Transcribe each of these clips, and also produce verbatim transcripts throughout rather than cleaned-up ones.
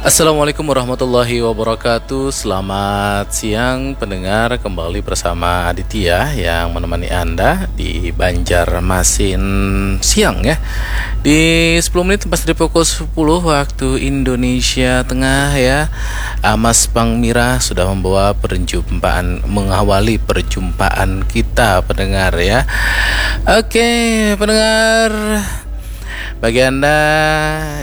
Assalamualaikum warahmatullahi wabarakatuh. Selamat siang pendengar, kembali bersama Aditya yang menemani Anda di Banjarmasin siang ya. Di sepuluh menit lepas dari pukul sepuluh waktu Indonesia Tengah ya. Amas Pangmirah sudah membawa perjumpaan, mengawali perjumpaan kita pendengar ya. Oke, pendengar, bagi Anda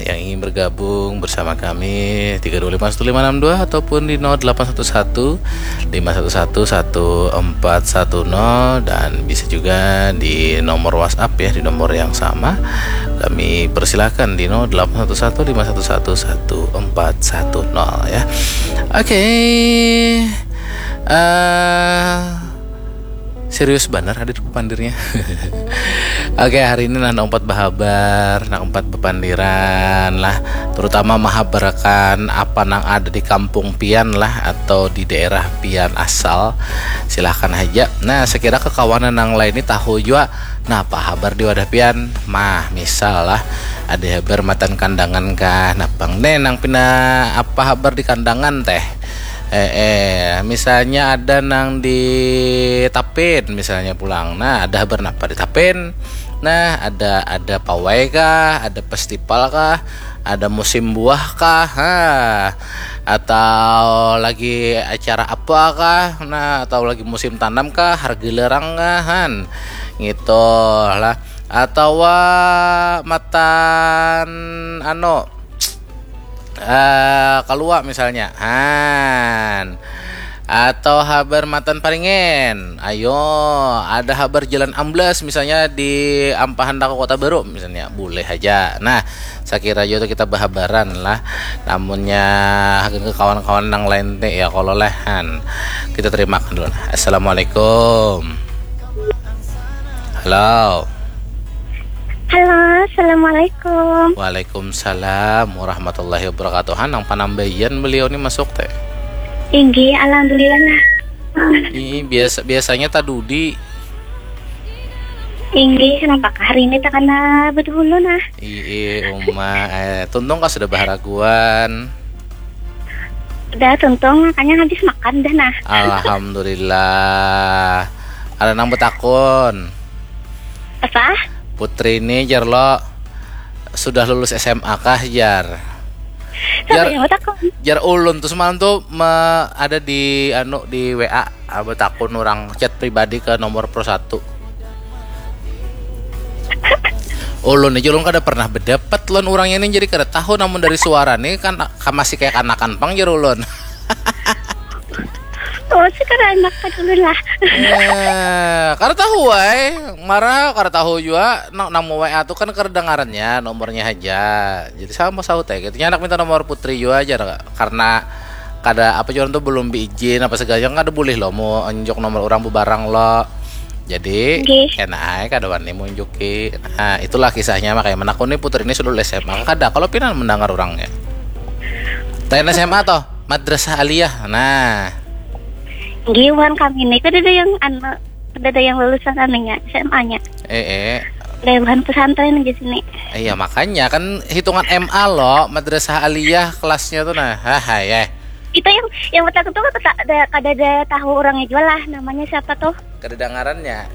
yang ingin bergabung bersama kami, tiga dua lima satu lima enam dua ataupun di nol delapan satu satu lima satu satu satu empat satu nol, dan bisa juga di nomor WhatsApp ya, di nomor yang sama. Kami persilakan di nol delapan satu satu lima satu satu satu empat satu nol ya. Oke. Eh, serius banar hadir pandirnya. Oke, hari ini nah, nak umpat bahabar, nak umpat bapandiran lah, terutama mahabarakan apa nang ada di kampung pian lah atau di daerah pian asal. Silahkan haja. Nah, sekira kakawanan nang lain ni tahu jua napa habar di wadah pian. Mah, misal lah, ada habar matan Kandangan kah, napang ne nang pina apa habar di Kandangan teh. Eh, eh, misalnya ada nang di Tapin misalnya pulang. Nah, ada habar napa di Tapin? Nah, ada, ada pawai kah, ada festival kah, ada musim buah kah, ha, atau lagi acara apa kah, nah, atau lagi musim tanam kah, harga lerang kah, han, gitu lah, atau matan anu, eh, Kalua misalnya, han, atau habar matan Paringen, ayo, ada habar jalan amblas misalnya di Ampahan Daku Kota Baru misalnya, boleh aja. Nah, sakira jua tu kita bahabaran lah. Namunnya hagan ke kawan-kawan nang lain teh ya kalau lehan. Kita terimakan dulu. Nah. Assalamualaikum. Halo. Halo, assalamualaikum. Waalaikumsalam warahmatullahi wabarakatuh. Han, nang panambaian beliau ni masuk teh. Inggih, alhamdulillah nah. Ih, biasa biasanya tadudi. Inggih, kenapa hari ini tak kena betul nah? Ii, uma, eh, tuntung kah sudah baharaguan? Udah tuntung, makanya habis makan dah nah. Alhamdulillah. Ada nang betakun. Apa? Putri ini jar lo sudah lulus S M A kah jar? Siapa yang betakun? Jar ulun tuh semalam tuh me, ada di anu di W A, ah, betakun orang chat pribadi ke nomor pro satu. Ulun aja ulun kada pernah bedapat lawan urangnya nih, jadi kada tahu, namun dari suara nih kan ka-, masih kayak kanakan pang jar ulun. Oh, sekarang anak dulu lah. Eh, kada tahu ai, marah kada tahu jua nang nang W A tuh kan kedengarannya nomornya aja. Jadi sama sahut ya gitu. Nya anak minta nomor Putri jua aja karena kada apa jua tuh belum diizin apa segala kan kada boleh lo mau unjuk nomor orang bebarang lo. Jadi Nggih. Kena ai kada wani munjuki. Nah, itulah kisahnya makanya menakuni Putri ini sudah S M A. Kada kalau pinan mendengar orangnya. Lain S M A toh, Madrasah Aliyah. Nah, Nggih, wan kami ini kada ada yang anu, kada ada yang lulusan anunya, S M A-nya. eh eh. Dari bahan pesantren aja sini. Iya makanya kan hitungan M A lo, Madrasah Aliyah kelasnya tuh nah. Hahae. Itu yang yang betakun tuh kada ada, kada ada tahu orangnya juga lah, namanya siapa tuh? Kedengarannya.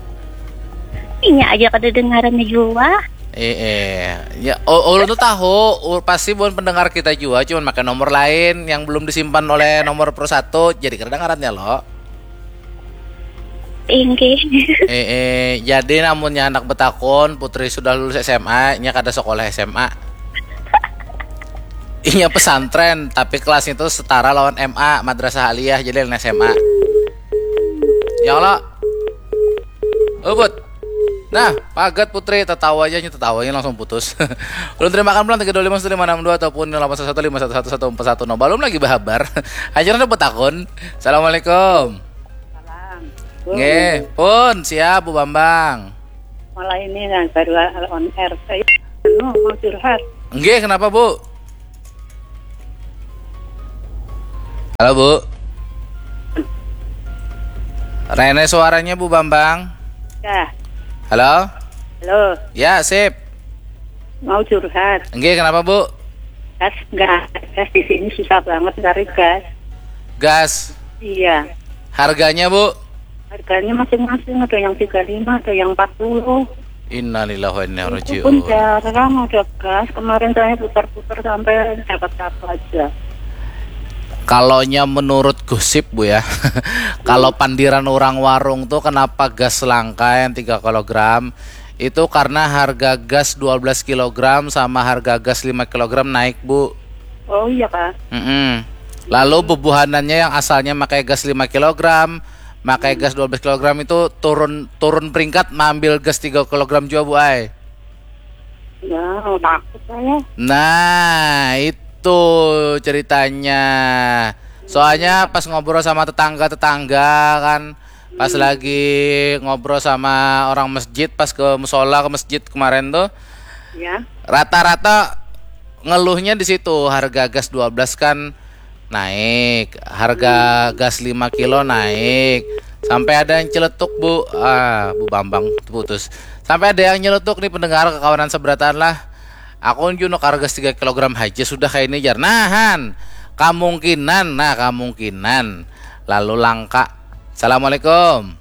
Inya aja kada dengarannya juga. Eh eh. Ya, oh, ulun tuh tahu, ul- pasti bukan pendengar kita juga, cuman pakai nomor lain yang belum disimpan oleh nomor pro satu, jadi kedengarannya lo. Inggih. Eh eh. Jadi namunnya anak betakun, Putri sudah lulus S M A, nya kada sekolah S M A. Inya pesantren, tapi kelasnya itu setara lawan M A, Madrasah Aliyah, jadi lain S M A. Ya Allah. Ubut. Nah, pagat Putri, tatawa aja, nya tatawa, nya langsung putus. Ulun terima kasih pulang tiga dua lima satu lima enam dua ataupun delapan satu satu lima satu satu satu empat satu nol. Belum lagi bahabar. Ajar ada betakun. Assalamualaikum. Salam. Nggih, pun siap Bu Bambang. Malah ini yang baru on air. Saya anu, mau curhat. Nggih, kenapa Bu? Halo Bu. Rene suaranya Bu Bambang. Ya, Halo? halo, Ya, sip. mau curhat. Nggih, kenapa Bu? Gas, gas, gas di sini susah banget cari gas. Gas. Iya. Harganya, Bu? Harganya masing-masing, ada yang tiga lima, ada yang empat puluh. Innalillahi wa inna ilaihi Itu pun raji'un. jarang ada gas. Kemarin saya putar-putar sampai dapat satu aja. Kalaunya menurut gosip, Bu, ya. Kalau pandiran orang warung tuh, kenapa gas langka yang tiga kilogram? Itu karena harga gas dua belas kilogram sama harga gas lima kilogram naik, Bu. Oh iya kak. Mm-mm. Lalu bubuhanannya yang asalnya pakai gas lima kilogram, pakai gas dua belas kilogram itu turun turun peringkat, mengambil gas tiga kilogram juga, Bu ai. Ya, takut saya. Nah, itu ceritanya. Soalnya pas ngobrol sama tetangga-tetangga kan, pas lagi ngobrol sama orang masjid, pas ke musola, ke masjid kemarin tuh, Ya. rata-rata ngeluhnya di situ, harga gas dua belas kan naik, harga gas lima kilo naik, sampai ada yang celetuk, Bu. Ah, Bu Bambang putus. Sampai ada yang nyeletuk nih, pendengar, kakawanan seberataan lah. Aku nju nukar gas tiga kilogram aja sudah kayak ini, jar. Nahan. Kemungkinan, nah, kemungkinan lalu langka. Assalamualaikum.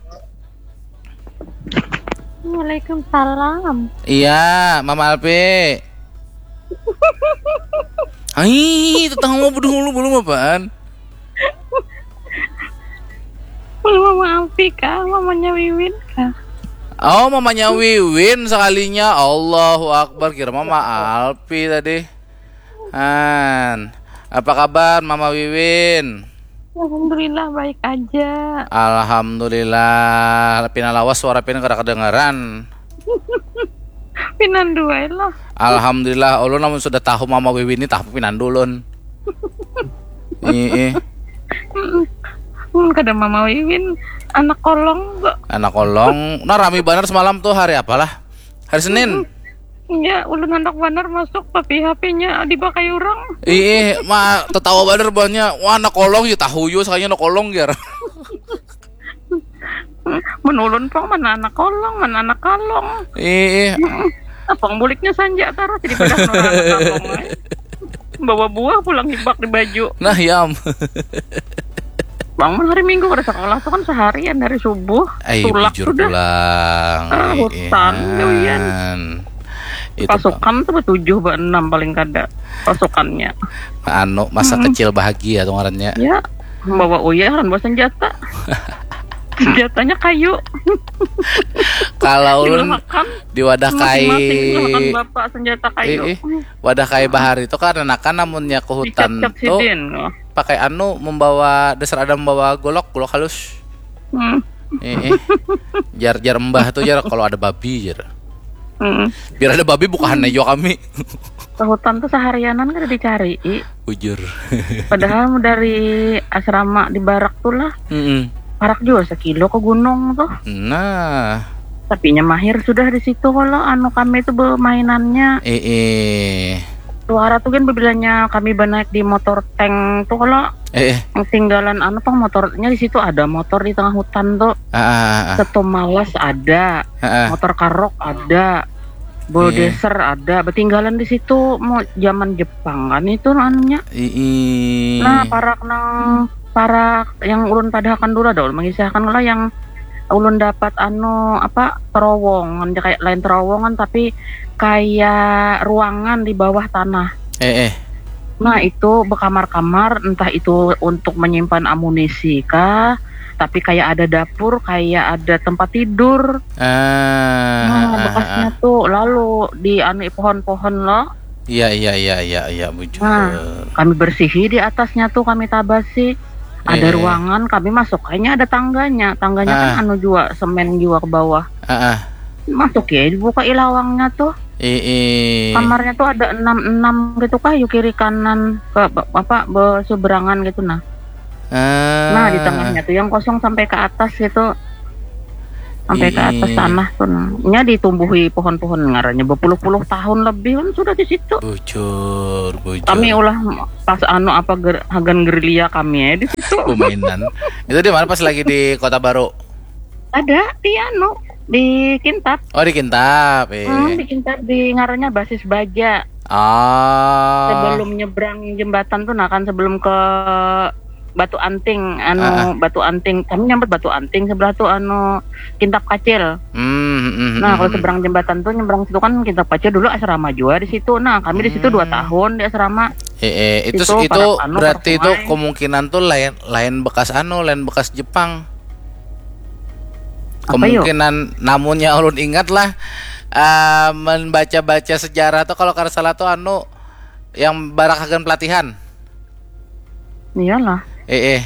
Waalaikumsalam. Iya, Mama Alpi. Hai, tetangga mau dulu, belum apaan? Belum, Mama Alpi kah? Mamanya Wiwin kah? Oh, mamanya Wiwin sekalinya. Allahu Akbar, kira Mama Alpi tadi. Han, apa kabar, Mama Wiwin? Alhamdulillah, baik aja. Alhamdulillah, pina lawas suara pina kada kedengaran. Pinan duai lah. Alhamdulillah, ulun namun sudah tahu Mama Wiwin ini, tahu pinan dulun. Iya. Hmm, kada Mama Wiwin, anak kolong kok. Anak kolong. Nah, rami banar semalam tuh, hari apalah? Hari Senin. Ya, ulun handak banar masuk, tapi H P-nya dipakai orang. Iya, ma tetawa banar banyak. Wah, anak kolong ya, tahu yo, sakalinya anak kolong, jar. Menulun pang, mana anak kolong, mana anak kalong. Iya. Apang buliknya sanja tarus, jadi pada nurang anak kalong, eh. Bawa buah pulang hibak di baju. Nah, yam. Bangun hari Minggu kada sekolah tuh kan seharian dari subuh. Ayo, Tulak bujur sudah. Pulang. Ah, Iya, hutan, Han. gawian. Itu, Bang. Pasukan tuh bertujuh, berenam paling kada pasukannya. Anu, masa Mm-mm. kecil bahagia tuh ngarannya. Ya, membawa uyah dan bawa senjata. Senjatanya kayu. Kalau ulun Dilahakan di wadah kai, masing-masing dilahakan bapak senjata kayu. Ih, ih. Wadah kai bahari itu kan anakan namunnya ke hutan Dicap-cap tuh sidin. Oh. Pakai anu, membawa dasar, ada membawa golok, golok halus. Hmm. Ih, ih. Jar, jar mbah tuh, jar, kalau ada babi, jar. Hmm. Biar ada babi bukahan aja kami. Ke hutan tuh seharianan kada dicari. Bujur. Padahal dari asrama di barak tuh lah, Mm-mm. parak juga sekilo ke gunung tuh. Nah, Tapinya mahir sudah di situ kalau anu kami tuh bermainannya. Eh, eh. Suara tuh kan bebilanya kami banaik di motor tank tuh kalau Eh, eh. Yang tinggalan anu pang motornya di situ, ada motor di tengah hutan tuh. Ah, ah, ah, ah. Seto malas ada, Ah, ah. Motor karok ada, Iya. Bulldozer ada, betinggalan di situ mau zaman Jepang kan itu anunya. Ii. Nah, parak nang parak yang ulun padahakan dulu ada ulun mengisahkan lah yang ulun dapat anu apa terowongan, kayak lain terowongan tapi kayak ruangan di bawah tanah. Eh, eh. Nah, itu berkamar-kamar, entah itu untuk menyimpan amunisi kah, tapi kayak ada dapur, kayak ada tempat tidur. Ah, Nah, ah, ah, bekasnya ah. Tuh lalu di anu pohon-pohon loh. Iya, iya, iya, iya, iya, bujur. Nah, kami bersihi di atasnya tuh, kami tabasi. Ada Eh. Ruangan, kami masuk kayaknya ada tangganya. Tangganya kan Ah. Anu juga, semen juga ke bawah. Ah, ah. Masuk ya, dibuka ilawangnya tuh. Eh, eh. Kamarnya tuh ada enam enam gitu kah, yuk kiri kanan ke apa berseberangan gitu nah. Ah. Nah, di tengahnya tuh yang kosong sampai ke atas gitu. Sampai ke atas Ih. Tanah tuh nah. Nya ditumbuhi pohon-pohon ngarannya berpuluh-puluh tahun lebih kan sudah di situ. Bujur, bujur. Kami ulah pas anu apa ger, hagan gerilya kami ya di situ. Permainan. Itu di mana, pas lagi di Kota Baru? Ada di anu di Kintab. Oh, di Kintab, eh. Hmm, di Kintab di ngarannya Basis Baja. Ah. Sebelum nyebrang jembatan tuh, nah kan, sebelum ke Batu Anting, anu, Ah, ah. Batu Anting, kami nyambat Batu Anting, sebelah tuh anu, Kintap Kacil. Hmm, hmm, hmm, Nah, kalau hmm. Seberang jembatan tuh, nyebrang situ kan Kintap Kacil, dulu asrama juga di situ. Nah, kami di situ dua Hmm. tahun di asrama. Eh, eh, itu Itu itu parak anu, berarti parak itu sungai. Kemungkinan tuh lain lain bekas anu, lain bekas Jepang. Apa, yuk? Kemungkinan, namunnya ulun ingat lah, eh, membaca-baca sejarah tuh, kalau kada salah tuh anu yang barak hagan pelatihan. Iyalah. Eh, eh.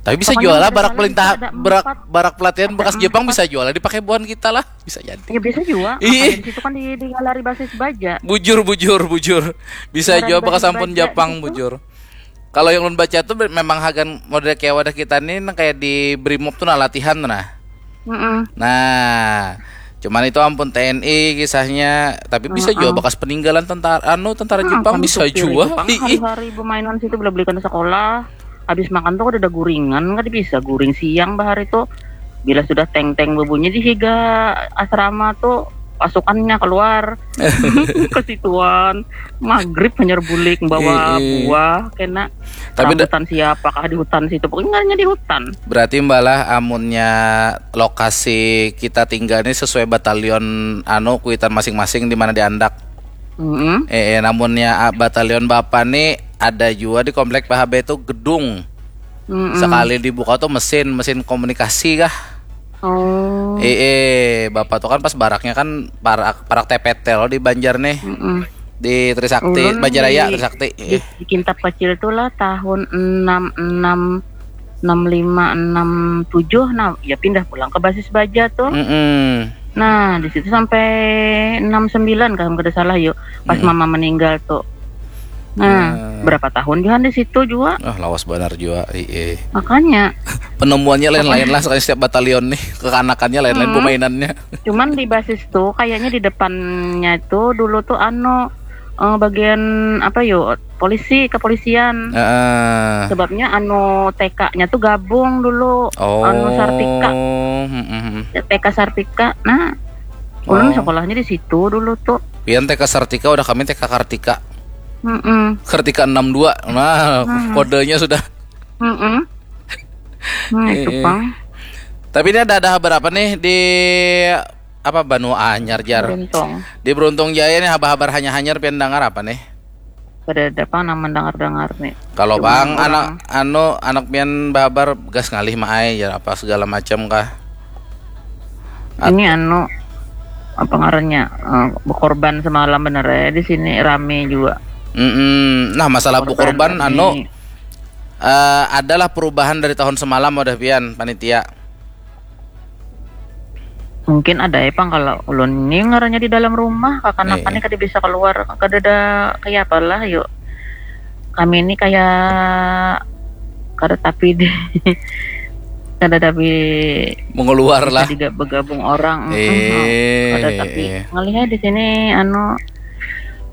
Tapi bisa Pokoknya jual lah ada barak salah, pelintahan, ada barak empat. Barak pelatihan Ada bekas Jepang empat. Bisa jual lah dipakai buhan kita lah, bisa jadi. Ya, bisa juga. Ih. Makanya di situ kan di, di galeri basis baja. Bujur, bujur, bujur. Bisa Galeri jual bekas basis ampun baja Jepang, di situ. Bujur. Kalau yang ulun baca tuh be- memang hagan model kayak wadah kita nih, nang kayak di Brimob tuh, nah, latihan tuh, nah. Mm-mm. Nah, cuman itu ampun T N I kisahnya, tapi bisa juga Heeh. Bekas peninggalan tentara, anu, tentara Hmm, Jepang kami bisa supir jua. Jepang Ih, ih. hari-hari bermainan situ, bela-belikan sekolah. Habis makan tuh kada ada guringan, kada bisa guring siang bahari tuh. Bila sudah teng-teng bebunyi di higa asrama tuh, pasukannya keluar ke situan. Maghrib hanyar bulik bawa Ih, ih. Buah kena. Tapi da- Rambutan siapakah di hutan situ? Pokoknya ngarannya di hutan. Berarti mbalah amunnya lokasi kita tinggal ini sesuai batalion, anu, kuitan masing-masing di mana diandak. Mm-mm. Eh, eh, namunnya, ah, batalion Bapa nih ada juga di komplek P H B itu gedung. Mm-mm. Sekali dibuka tuh mesin, mesin komunikasi kah? Oh. Eh, eh, Bapa tuh kan pas baraknya kan parak, parak T P T loh di Banjar nih. Mm-mm. Di Trisakti, Ulun Banjaraya, di, Trisakti. di, Eh. di Kintap Kacil tuh lah tahun enam enam, enam lima, enam tujuh, nah, ya pindah pulang ke basis baja tuh. Mm-mm. Nah, di situ sampai enam sembilan kalau kada salah, yuk. Pas Mm-mm. Mama meninggal tuh. Nah, Nah. Berapa tahun juga di situ juga. Ah, lawas banar juga. Iya. Makanya. Penemuannya lain-lain lah, sekali setiap batalion nih, kekanakannya lain-lain Hmm. permainannya. Cuman di basis tuh kayaknya di depannya itu dulu tuh anu, eh, bagian apa, yuk, polisi, kepolisian. Heeh. Sebabnya anu T K-nya tuh gabung dulu, Oh. Anu Sartika. Mm-mm. T K Sartika. Nah, ulun Oh. sekolahnya di situ dulu tuh. Pian T K Sartika, udah kami T K Kartika. Mm-mm. Kartika enam dua. Nah, Hmm. kodenya sudah. Mm-mm. Nah, itu Eh, eh. pang. Tapi ini ada, ada kabar apa nih di apa, Banua Anyar, jar? Beruntung. Di Beruntung Jaya nih, habar-habar hanyar-hanyar pian dangar apa nih? Kada ada pang nang mendengar-dengar nih. Kalau Cuman bang orang anak anu, anak pian babar gas ngalih maai, jar, apa segala macam kah? At- Ini anu, apa ngarannya, eh, berkorban semalam bener ya, di sini rame juga. Mm-mm. Nah, masalah Korban berkorban rame. Anu, eh, adalah perubahan dari tahun semalam, wadah pian, panitia. Mungkin ada ya pang, kalau ulun ini ngarannya di dalam rumah, kakanakan Eh. ini kada bisa keluar, kada ada kayak apalah, yuk. Kami ini kayak kada tapi di kada tapi Mengeluar lah. Bisa diga- bergabung orang. Mm-mm. Eh, Kada eh, tapi eh. Ngalihat di sini anu,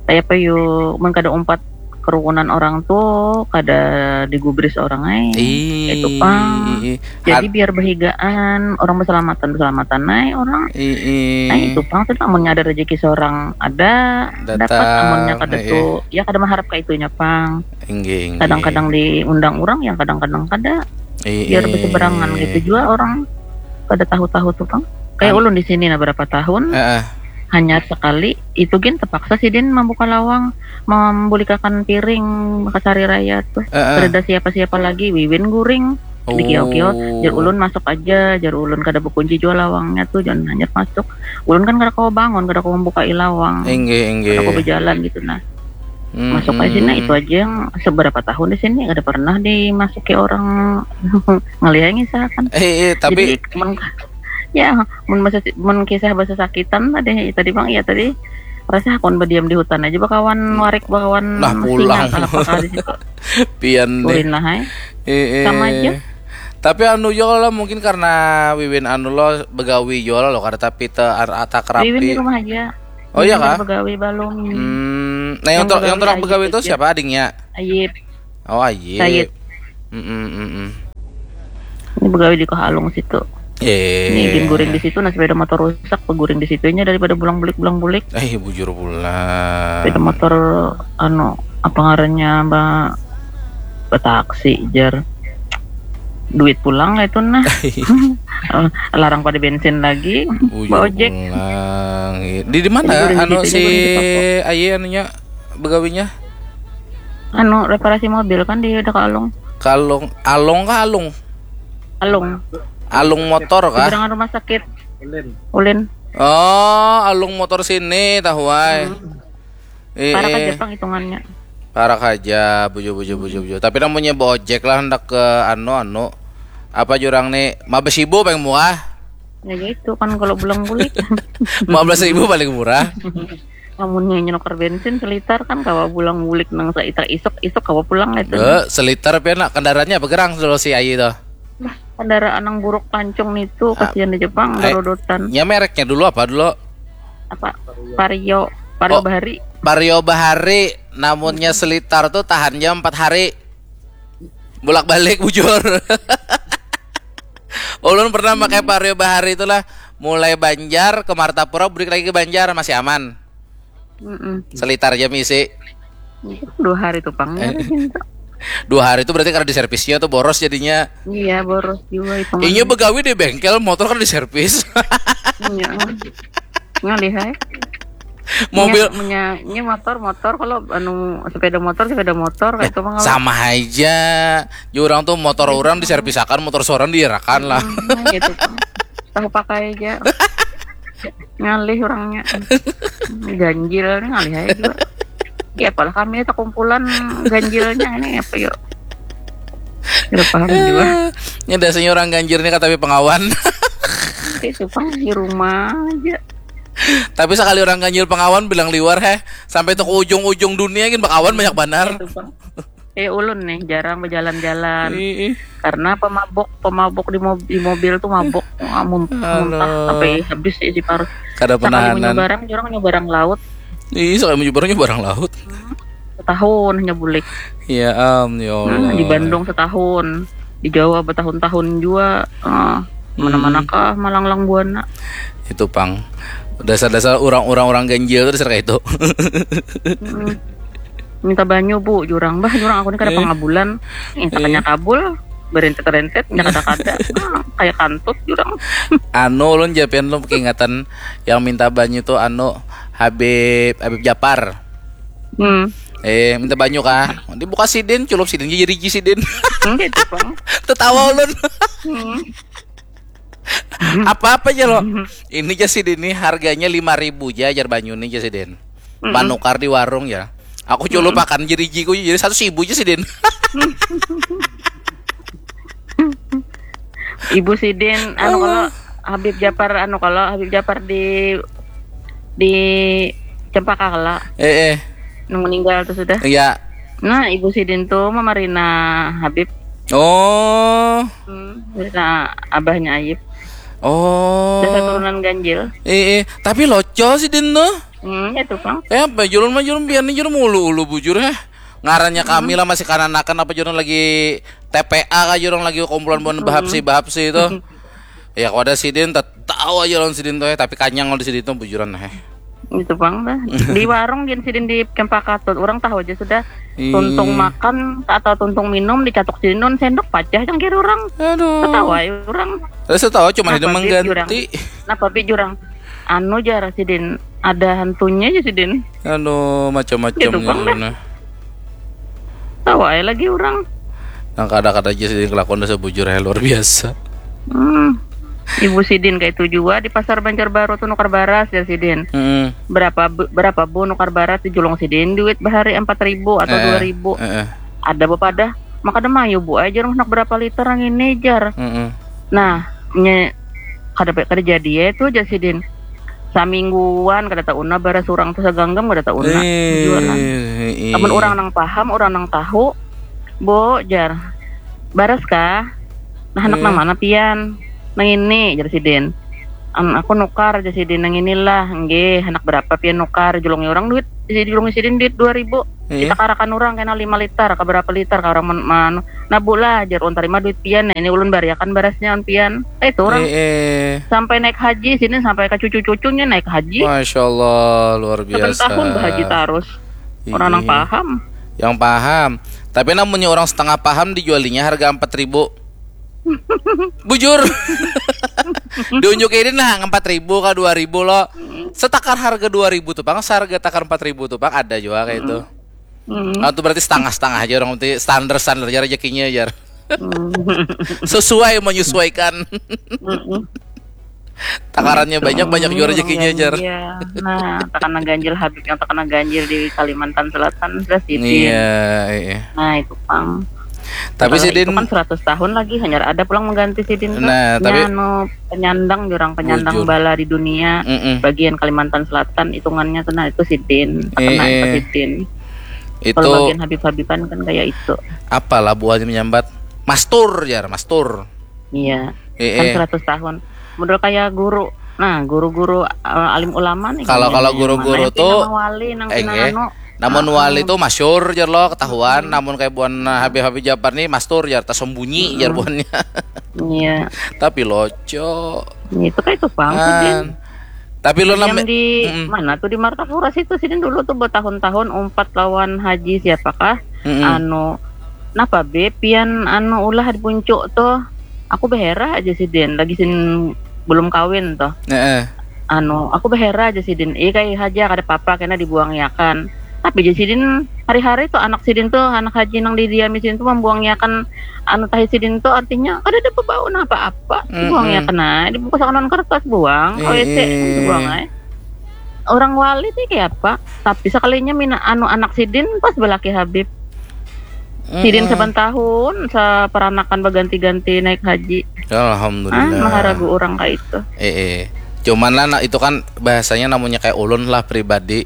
kayak apa, yuk, mun kada umpat kerukunan orang tuh kada digubris orang ai. Ih. Itu pang. Jadi Ad- biar behigaan, orang berselamatan, berselamatan ai orang. Ih, ih. Nah, itu pang tuh, amunnya ada rezeki seorang ada Datang, dapat, amunnya kada eh, eh. Tuh, ya kada mengharap kayak itunya pang. Inggih, inggih. Kadang-kadang diundang orang, yang kadang-kadang kada. Ih, Biar ih. Berseberangan gitu juga orang kada tahu-tahu tuh pang. Kayak Am- ulun di sini, nah, berapa tahun Heeh. Hanyar sekali itu gin terpaksa sidin membuka lawang, membulikakan piring, kasari raya tuh. Heeh. Kada ada siapa-siapa lagi, wiwin guring. Di kiau-kiau, Oh. Jar ulun masuk aja, jar ulun kada bekunci jua lawangnya tuh, jangan hanyar masuk. Ulun kan kada kawa bangun, kada kawa membukai lawang. Inggih, inggih. Kada kawa berjalan gitu nah. Mm-mm. Masuk aja sini, itu aja yang seberapa tahun di sini kada pernah dimasuki orang. Ngelihat ngisah kan. Eh, eh, tapi Jadi, mun, ya, mun masa mun kisah bahasa sakitan tadi, tadi bang, ya tadi rasa hakun berdiam di hutan aja bakawan Hmm. warik, bakawan Nah, singa pulang. kah, apakah di situ. Pian deh. Ulin lah, hai. Eh, eh. Sama aja. Tapi anu jua lah, mungkin karena wiwin anu lo begawi jua lo, kada tapi te ar- atak rapi. Wiwin di rumah aja. Oh, iya Wiwin kah? Begawi balum. Hmm, nah, yang Yang ter- yang begawi terang Ayip begawi itu aja. Siapa, adingnya? Ayip. Oh, Ayip. Sayid. Mm-mm, mm-mm. Ini begawi di Kohalung situ. Eh. Ini gin guring di situ, nah, sepeda motor rusak, guring di situnya daripada bulang bulik, bulang bulik. Eh, bujur pulang. Sepeda motor, anu, apa ngarannya, Mbak? Betaksi, jar. Duit pulang itu, nah. Eh, larang pada bensin lagi, bujur ojek. Pulang. Di, di mana, anu, si Aye anunya, begawinya? Anu, reparasi mobil kan di Dekalong. Kalong, Along kah Alung? Alung. Alung motor kah? Seberangan rumah sakit Ulin. Ulin. Oh, Alung motor sini, tahu ai. Hmm. Eh, parak eh. Aja pang hitungannya. Parak aja, bujur, bujur, bujur, bujur. Tapi namanya baojek lah, hendak ke anu, anu. Apa jurang nih? Lima belas ribu paling murah. Ya gitu kan kalau bulang bulik. Lima belas ribu paling murah. Lamunnya nyenukar bensin selitar kan kawa bulang bulik nang saitak isuk, isuk kawa pulang itu. Eh, selitar pian nak kendaraannya apa gerang dulu si Ayi tuh? Bah, kendaraan nang buruk pancung nitu, ah, kasihan di Jepang, eh, garodotan. Nya mereknya dulu apa dulu? Apa? Vario, Vario oh, Bahari. Vario Bahari, namunnya selitar tuh tahan jam empat hari. Bolak-balik bujur. Ulun pernah pakai Vario Bahari itulah, mulai Banjar ke Martapura, bulik lagi ke Banjar, masih aman. Mm-mm. Selitar aja misi. Dua hari tuh pang. Eh. Dua hari itu berarti karena diservisnya tuh boros jadinya. Iya, boros juga itu. Inya begawi di bengkel, motor kan diservis. Iya. Ngalih ai. Mobil punya, punya, ini motor, motor, kalau anu sepeda motor, sepeda motor kayak itu mah sama aja. Jurang tuh motor orang diservisakan, motor seorang diarakan lah. Hmm, gitu tuh. Tahu pakai aja. Ngalih orangnya. Ganjil nih ngalih aja juga. Ya apalah kami itu kumpulan ganjilnya ini apa yuk? Tidak paham juga. Ini dasarnya orang ganjil nih kata pengawan. Itu pang di rumah aja. Tapi sekali orang ganjil pengawan bilang liwar heh, sampai tuh ke ujung-ujung dunia gin bakawan banyak banar. Itu pang. Eh ulun nih jarang berjalan-jalan. Ih, ih. Karena pemabok, pemabok di, mob- di mobil tuh mabok. Wah, muntah sampai habis isi parut. Kada penahanan. Nyobarang, orang nyobarang laut. Ih, sekali nyobarang nyobarang laut. Setahun hanya bulik. Ya am, ya Allah. Nah, di Bandung setahun, di Jawa bertahun-tahun juga. Ah, mana-mana kah malanglang buana. Itu pang dasar-dasar orang-orang orang ganjil tuh dasar kayak itu. Minta banyu bu, jurang bah, jurang aku nih kada pangabulan. Eh, takanya kabul, berentet-rentet, nya kada-kada. Ah, kayak kantut jurang. Anu ulun japian lu keingatan yang minta banyu tuh anu Habib Habib Japar. Hmm. Eh, minta banyu kah? Dibuka sidin, culup sidin, jadi ji sidin. Enggak itu pang. Tetawa ulun. Hmm. Apa-apa aja lo. Ini aja sidin nih harganya lima ribu aja ajar banyu nih aja sidin. Panukar di warung ya. Aku culup akan jadi jiku jadi satu ribu aja sidin. Ibu sidin anu kalau Habib Japar anu kalau Habib Japar di di Cempaka kala. Eh eh. Nang meninggal tuh sudah. Iya. Nah, ibu sidin tuh memarina Habib. Oh. Hmm, marina abahnya Ayib. Oh. Dasar turunan ganjil. Eh eh, tapi loco sidin tuh. Hmm, itu pang. Eh, apa julun mah julun biar nih julun ulu-ulu bujur heh. Ngarannya kami lah masih kananakan apa julun lagi T P A kah julun lagi kumpulan buhan bahapsi bahapsi itu. Ya kalau ada sidin tahu aja lawan sidin tuh ya, tapi kanyang kalau di sidin tuh bujuran heh. Itu pang dah. Di warung gin sidin di Cempaka Tut, orang tahu aja sudah. Tuntung makan atau tuntung minum dicatuk sidin non sendok pacah cangkir orang. Aduh. Ketawa ya orang. Terus tahu cuma ada mengganti. Napa bi jurang? Anu jar sidin ada hantunya aja sidin. Anu macam-macam gitu, Bang, dah. Tahu aja lagi orang. Nang kada-kada aja sidin kelakuan dah sebujur ya luar biasa. Hmm. Ibu sidin kayak itu juga di pasar Banjarbaru tuh nukar baras ya sidin. Hmm. Berapa berapa bu nukar baras di julung sidin duit bahari empat ribu atau dua ribu. Eh, eh. Ada bepadah maka ada mayu bu aja rumah berapa liter yang ini jar. Hmm. Nah, nye kada kada jadi ya itu aja sidin. Samingguan kada tauna baras urang tuh saganggam kada tauna. Amun urang nang paham, urang nang tahu, bu jar baras kah? Nah anak nang mana pian? Nang ini jar sidin. An, aku nukar aja sidin nang inilah, nggih, anak berapa pian nukar, julungi orang duit, julungi sidin duit dua ribu. Iya. Kita karakan orang kena lima liter, ke berapa liter, ke orang men-, manu. Nah, Bu lah, jar ulun tarima duit pian, nah, ini ulun bariakan barasnya on pian. Eh, itu orang. Eh, eh. Sampai naik haji, sidin sampai ke cucu-cucunya naik haji. Masya Allah, luar biasa. Saban tahun bahaji tarus. Orang nang paham. Yang paham. Tapi namunnya orang setengah paham dijualinya harga empat ribu. Bujur. Diunjukin nah empat ribu ke dua ribu lo. Setakar harga dua ribu tuh pang, seharga takar empat ribu tuh pang ada juga kayak itu. Hmm. Nah, itu berarti setengah-setengah aja orang nanti standar-standar aja rezekinya jar. Hmm. Sesuai menyesuaikan. Hmm. Takarannya banyak, banyak juga rezekinya jar. Iya. Nah, takana ganjil Habib yang takana ganjil di Kalimantan Selatan sudah sidin. Iya, iya. Nah, itu pang. Tapi sidin itu kan seratus tahun lagi hanya ada pulang mengganti sidin tuh. Nah, tapi anu penyandang jurang penyandang bala di dunia bagian Kalimantan Selatan hitungannya tuh, nah itu sidin, terkena itu sidin. Itu kalau bagian Habib-Habiban kan kayak itu. Apalah buahnya menyambat mastur jar, mastur. Iya. Kan seratus tahun. Model kayak guru. Nah, guru-guru, eh, alim ulama nih. Kalau, kalau guru-guru tuh wali nang eh, anu. Namun wali tuh masyur jar lo, ketahuan. Namun kayak buan, eh, Habib-Habib Japar nih mastur jar, tersembunyi jar buannya. Iya. Tapi loco. Itu kayak itu pang sidin. Tapi lo di mana tuh, di Martapura situ sidin dulu tuh bertahun-tahun umpat lawan Haji siapakah? Anu, napa be pian anu ulah di puncuk tuh? Aku beherah aja sidin, lagi sin belum kawin tuh. Heeh. Anu, aku beherah aja sidin, ih kayak haja kada apa-apa kena dibuangiakan. Tapi aja sidin hari-hari tuh anak sidin tuh, anak haji nang didiami sidin tuh membuangiakan anu tahi sidin tuh, artinya kada ada bebau napa apa. Dibuangiakan aja, dibungkus akan kertas buang, A W C buang aja. Orang wali sih kayak apa? Tapi sekalinya mina anu anak sidin pas belaki Habib. Sidin saban tahun seperanakan berganti-ganti naik haji. Alhamdulillah. Ah, maharagu orang kayak itu. Eh, eh. Cuman lah, nah, itu kan bahasanya namanya kayak ulun lah pribadi.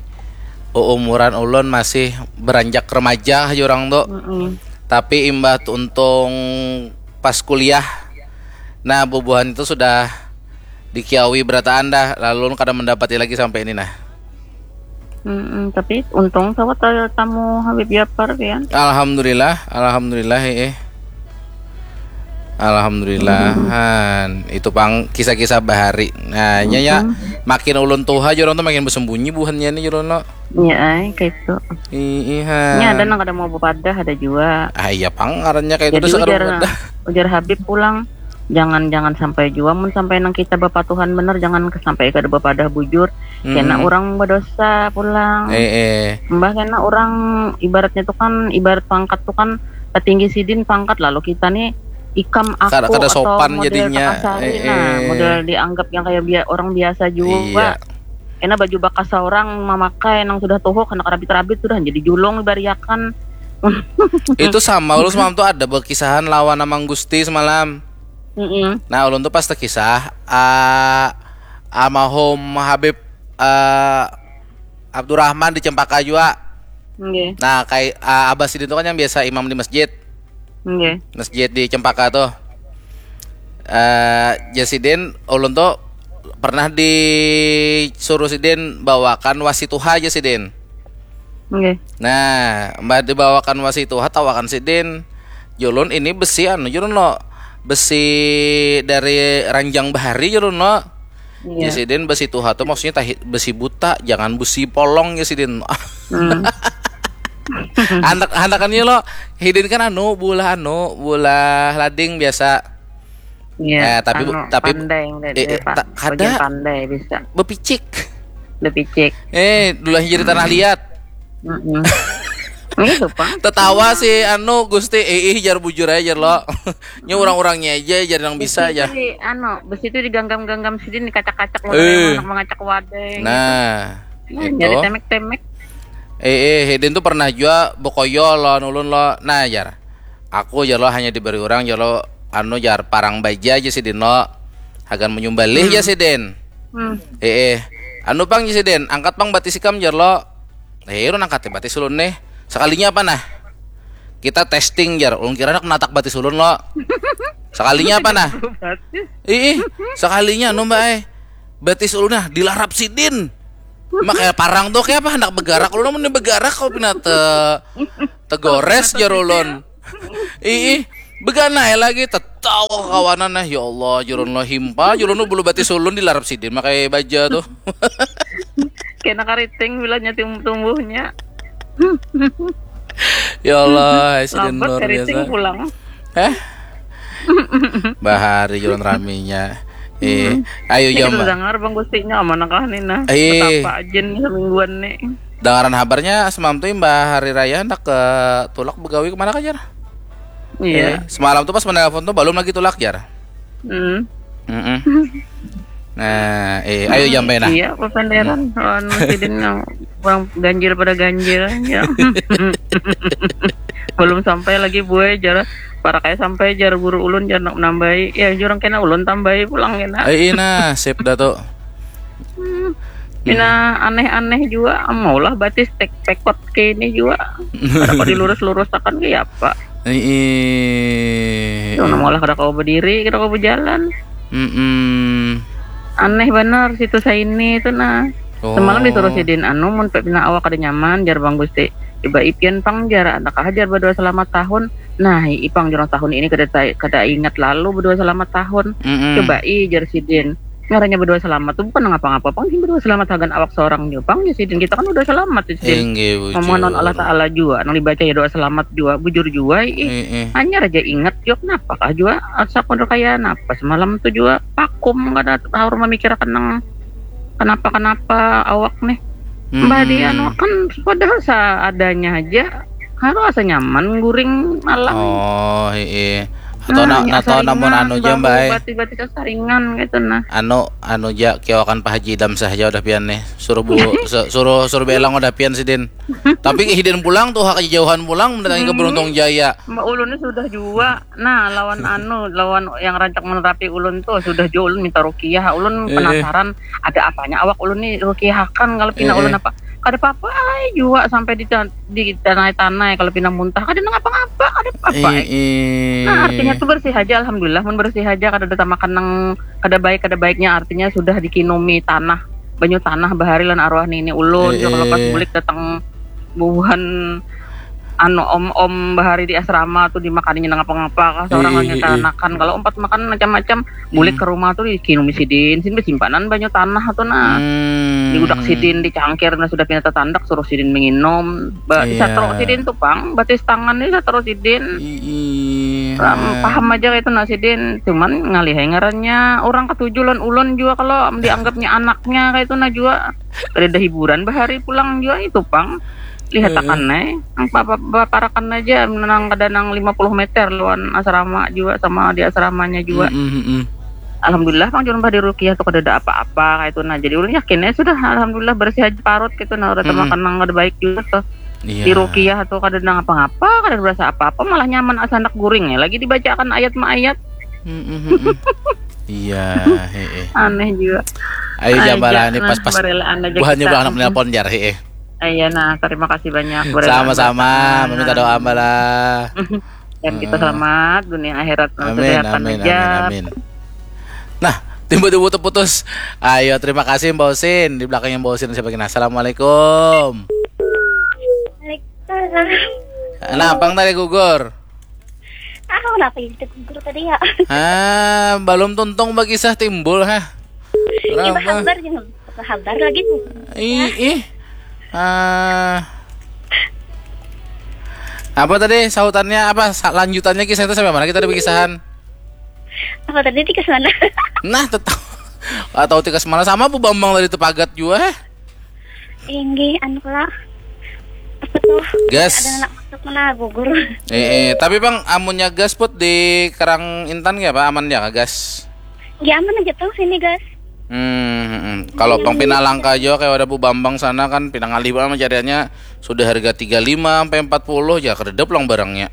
Umuran ulun masih beranjak remaja aja orang tuh. Mm-mm. Tapi imbah tuh untung pas kuliah, nah, bubuhan itu sudah dikiawi berataan dah, lalu ulun kada mendapati lagi sampai ini nah. Mm-mm, tapi untung sawat ada tamu Habib Japar pian. Alhamdulillah, alhamdulillah, eh. Alhamdulillah, han. Itu pang kisah-kisah bahari. Nah, nya, ya, makin ulun tuha, jurang tuh makin bersembunyi buhannya nih, jurang, no. Iya, ay, kayak itu. Ih, han. Ini ada nang kada mau bepadah, ada juga. Ah, iya, pang, ngarannya kayak itu. Jadi ujar, ujar Habib pulang, jangan, jangan sampai jua mun sampai nang kita bapatuhan bener, jangan sampai kada bapadah bujur. Kena orang berdosa pulang. Eh, eh. Mbah kena orang ibaratnya tuh kan, ibarat pangkat tuh kan, petinggi sidin pangkat, lalu kita nih ikam aku kada, kada sopan atau model jadinya. Takasari, eh, nah, eh. Model dianggap yang kayak bia-, orang biasa juga. Iya. Kena baju bakas orang memakai nang sudah tuh kena kerabit-rabit sudah jadi julung dibariakan. Itu sama ulun semalam tuh ada berkisahan lawan Amang Gusti semalam. Mm-mm. Nah, ulun tuh pas terkisah, ah, almarhum Habib, ah, Abdurrahman di Cempaka jua. Nggih. Nah, kayak, ah, abah sidin tuh kan yang biasa imam di masjid. Nggih. Masjid di Cempaka tuh. Eh, jar sidin, ulun tuh pernah disuruh sidin bawakan wasi tuha jar sidin. Nggih. Nah, mbah dibawakan wasi tuha, tawakan sidin. Julun ini besi anu, julun lo. Besi dari ranjang bahari, julun lo. Iya. Jar sidin besi tuha tuh maksudnya tahi-, besi buta, jangan besi polong jar sidin. Hmm. Handak, handakannya lo, hidin kan anu, bulah anu, bulah lading biasa. Iya, eh, tapi bu-, anu, tapi bu-, pandai, eh, eh, Pak. Ta-, kada. Bagian pandai bisa. Bepicik. Bepicik. Eh, dulu jadi tanah liat. Mm-mm. Itu, Pak. Tetawa si anu Gusti, eh, ih, jar bujur aja, jar lo. Nya orang-orangnya aja, jar yang bisa aja. Besi itu di, anu, besi itu diganggam-ganggam sidin, dikacak-kacak, eh, anak mengacak wadai. Nah, nah, itu. Jadi temek-temek. Eh, eh, hidin tuh pernah jua bekoyo lo, nulun lo. Nah, jar. Aku, jar lo, hanya diberi orang, jar lo, anu, jar, parang baja aja sidin lo. Hagan menyumbalih, hmm, jar sidin. Hmm. Eh, eh. Anu pang, jar sidin, angkat pang batis ikam, jar lo. Eh, ulun angkat batis ulun nih. Sekalinya apa nah? Kita testing, jar. Ulun kira nak natak batis ulun lo. Sekalinya apa nah? Batis. Ih, ih, sekalinya anu, Mbak, eh. Batis ulun nah dilarap sidin. Makanya parang tuh kayak apa, hendak begarak ulun, mun begarak kau pina te tegores jar ulun. Ih, begana ya lagi, tetawa kawanan nah, ya Allah, jurun lo himpa, jurun lo bulu batis ulun dilarap sidin makai baja tuh. Kena kariting bilanya tim tumbuhnya. Ya Allah, sidin Lambat luar kariting biasa. Pulang. Heh? Bahari jurun raminya. Eh, ayo Ini jam. Kita dengar bang gustinya amanakah nih nah. Eh. Betapa aja nih semingguan nih. Dengaran habarnya semalam tuh imbah hari raya hendak ke tulak begawi kemana kah jar? Iya. Eh, semalam tuh pas menelpon tuh belum lagi tulak jar. Hmm. Mm-mm. Nah, eh, ayo jampai nah. Iya, papanderan. Lawan sidin yang bang ganjil pada ganjil ya. Belum sampai lagi buai jar. Para kayak sampai jar guru ulun jar nak nambahi. Ya jurang kena ulun tambahi pulang kena. Eh, ina, sip dah tuh. Mina aneh-aneh juga. Maulah batis tek pekot ke ini juga. Kalau dilurus-lurusakan kayak apa? Ih. Tuh, maulah kada kau berdiri, kada kau berjalan. Mm-mm. Aneh benar situ saini itu nah. Oh. Semalam disuruh sidin anu mun pina awak kada nyaman jar bang gusti. Coba ipian pang jar, anak ajar berdua selamat tahun. Nah, ipang jurang tahun ini kada ta- kada ingat lalu berdua selamat tahun. Mm-mm. Coba i jar sidin. Ngarannya berdua selamat tuh bukan ngapa-ngapa pang sih berdua selamat hagan awak seorang juga pang ya sidin kita kan udah selamat ya sidin. Inggih, bujur. Memohon Allah Taala juga nang dibaca ya doa selamat juga bujur juga i. Eh, eh. Hanya aja ingat juga kenapa kah juga asa kudu kaya napa semalam tuh juga pakum kada harus memikirkan nang kenapa-kenapa awak nih. Mbah di Mm-mm. anu kan padahal seadanya aja harus asa nyaman guring malam. Oh, heeh. Atau Nah, na, ya, atau namun saringan, anu ja bahu, mbak eh. Bati-bati saringan gitu nah. Anu anu ja kiawakan Pak Haji Idam saja udah pian nih. Suruh bu su- suruh suruh belang udah pian sidin. Tapi hidin pulang tuh hak jauhan pulang mendatangi ke Beruntung Jaya. Mbak ulun ni sudah jua. Nah, lawan anu, lawan yang rancak menerapi ulun tuh sudah jua ulun minta rukiah. Ulun Eh, eh. Penasaran ada apanya awak ulun ni rukiahakan kalau pina Eh, ulun eh. Apa. Kada apa-apa ai jua sampai di di tanai-tanai kalau pina muntah kada nang apa-apa, kada apa-apa ai. Eh, eh. Nah, artinya tuh bersih aja alhamdulillah mun bersih aja kada ada tamakan nang kada baik kada baiknya artinya sudah dikinumi tanah banyu tanah bahari lan arwah nini ulun Eh, kalau pas eh. Bulik datang buhan anu om-om bahari di asrama tuh dimakaninya nang apa-ngapa kah seorang Eh, hanya eh, eh. Tanakan kalau empat makan macam-macam Bulik ke rumah tuh dikinumi sidin sidin besimpanan banyu tanah tuh nah Hmm. Diudak sidin dicangkir nah sudah pina tatandak suruh sidin menginum ba Iya. Disatro sidin tuh pang batis tangan ni satro sidin Ih, Ram- paham aja kayak itu nah sidin cuman ngalihai ngarannya orang ketujuh lan ulun juga kalau dianggapnya anaknya kayak itu nah juga kada ada hiburan bahari pulang juga itu pang lihat akan eh apa apa baparakan aja menang kada nang lima puluh meter lawan asrama juga sama di asramanya juga Mm, mm, mm. Alhamdulillah pang cuma di rukiah tuh kada ada apa-apa kayak itu nah jadi ulun yakin ya sudah alhamdulillah bersih aja parut gitu nah udah Mm-mm. Makan nang kada baik juga tuh Iya. Di rukiah tuh kada nang apa-apa kada berasa apa-apa malah nyaman asa anak guring ya lagi dibacakan ayat ma ayat Mm, mm, mm, mm. Iya, heeh. Aneh juga. Ayo Aja, jambara ni nah, pas-pas barelaan aja buhannya kita. pulang nelpon jar, heeh. Iya nah, terima kasih banyak. Barelaan Sama-sama, barelaan. meminta doa ambalah. Dan kita selamat dunia akhirat. Amin, Kesehatan amin, aja. amin, amin. Nah, tiba-tiba terputus. Ayo, terima kasih Mbak Usin. Di belakangnya Mbak Usin siapa lagi? Nah, assalamualaikum. Waalaikumsalam. Nah, pang tadi gugur. Ah, kenapa jadi gugur tadi ya? Ah, belum tuntung bagi sah timbul, ha. Ini Kenapa? Kabar jangan kabar lagi. Ih, ih. Ah. Apa tadi sautannya apa sa- lanjutannya kisah itu sampai mana kita ada berkisahan? Apa tadi di sana? Nah, tetap atau tikas mana sama Bu Bambang tadi tepagat juga, eh? Inggih, anu lah. Apa tuh? Gas. Ada anak masuk mana gugur. Eh, eh, tapi Bang amunnya gas put di Kerang Intan ya Pak aman ya gas? Ya aman aja tuh sini gas. Hmm, hmm, hmm. Kalau Bang pina langka aja kayak ada Bu Bambang sana kan pina ngalih banget cariannya sudah harga tiga lima sampai empat puluh ya kredep lang barangnya.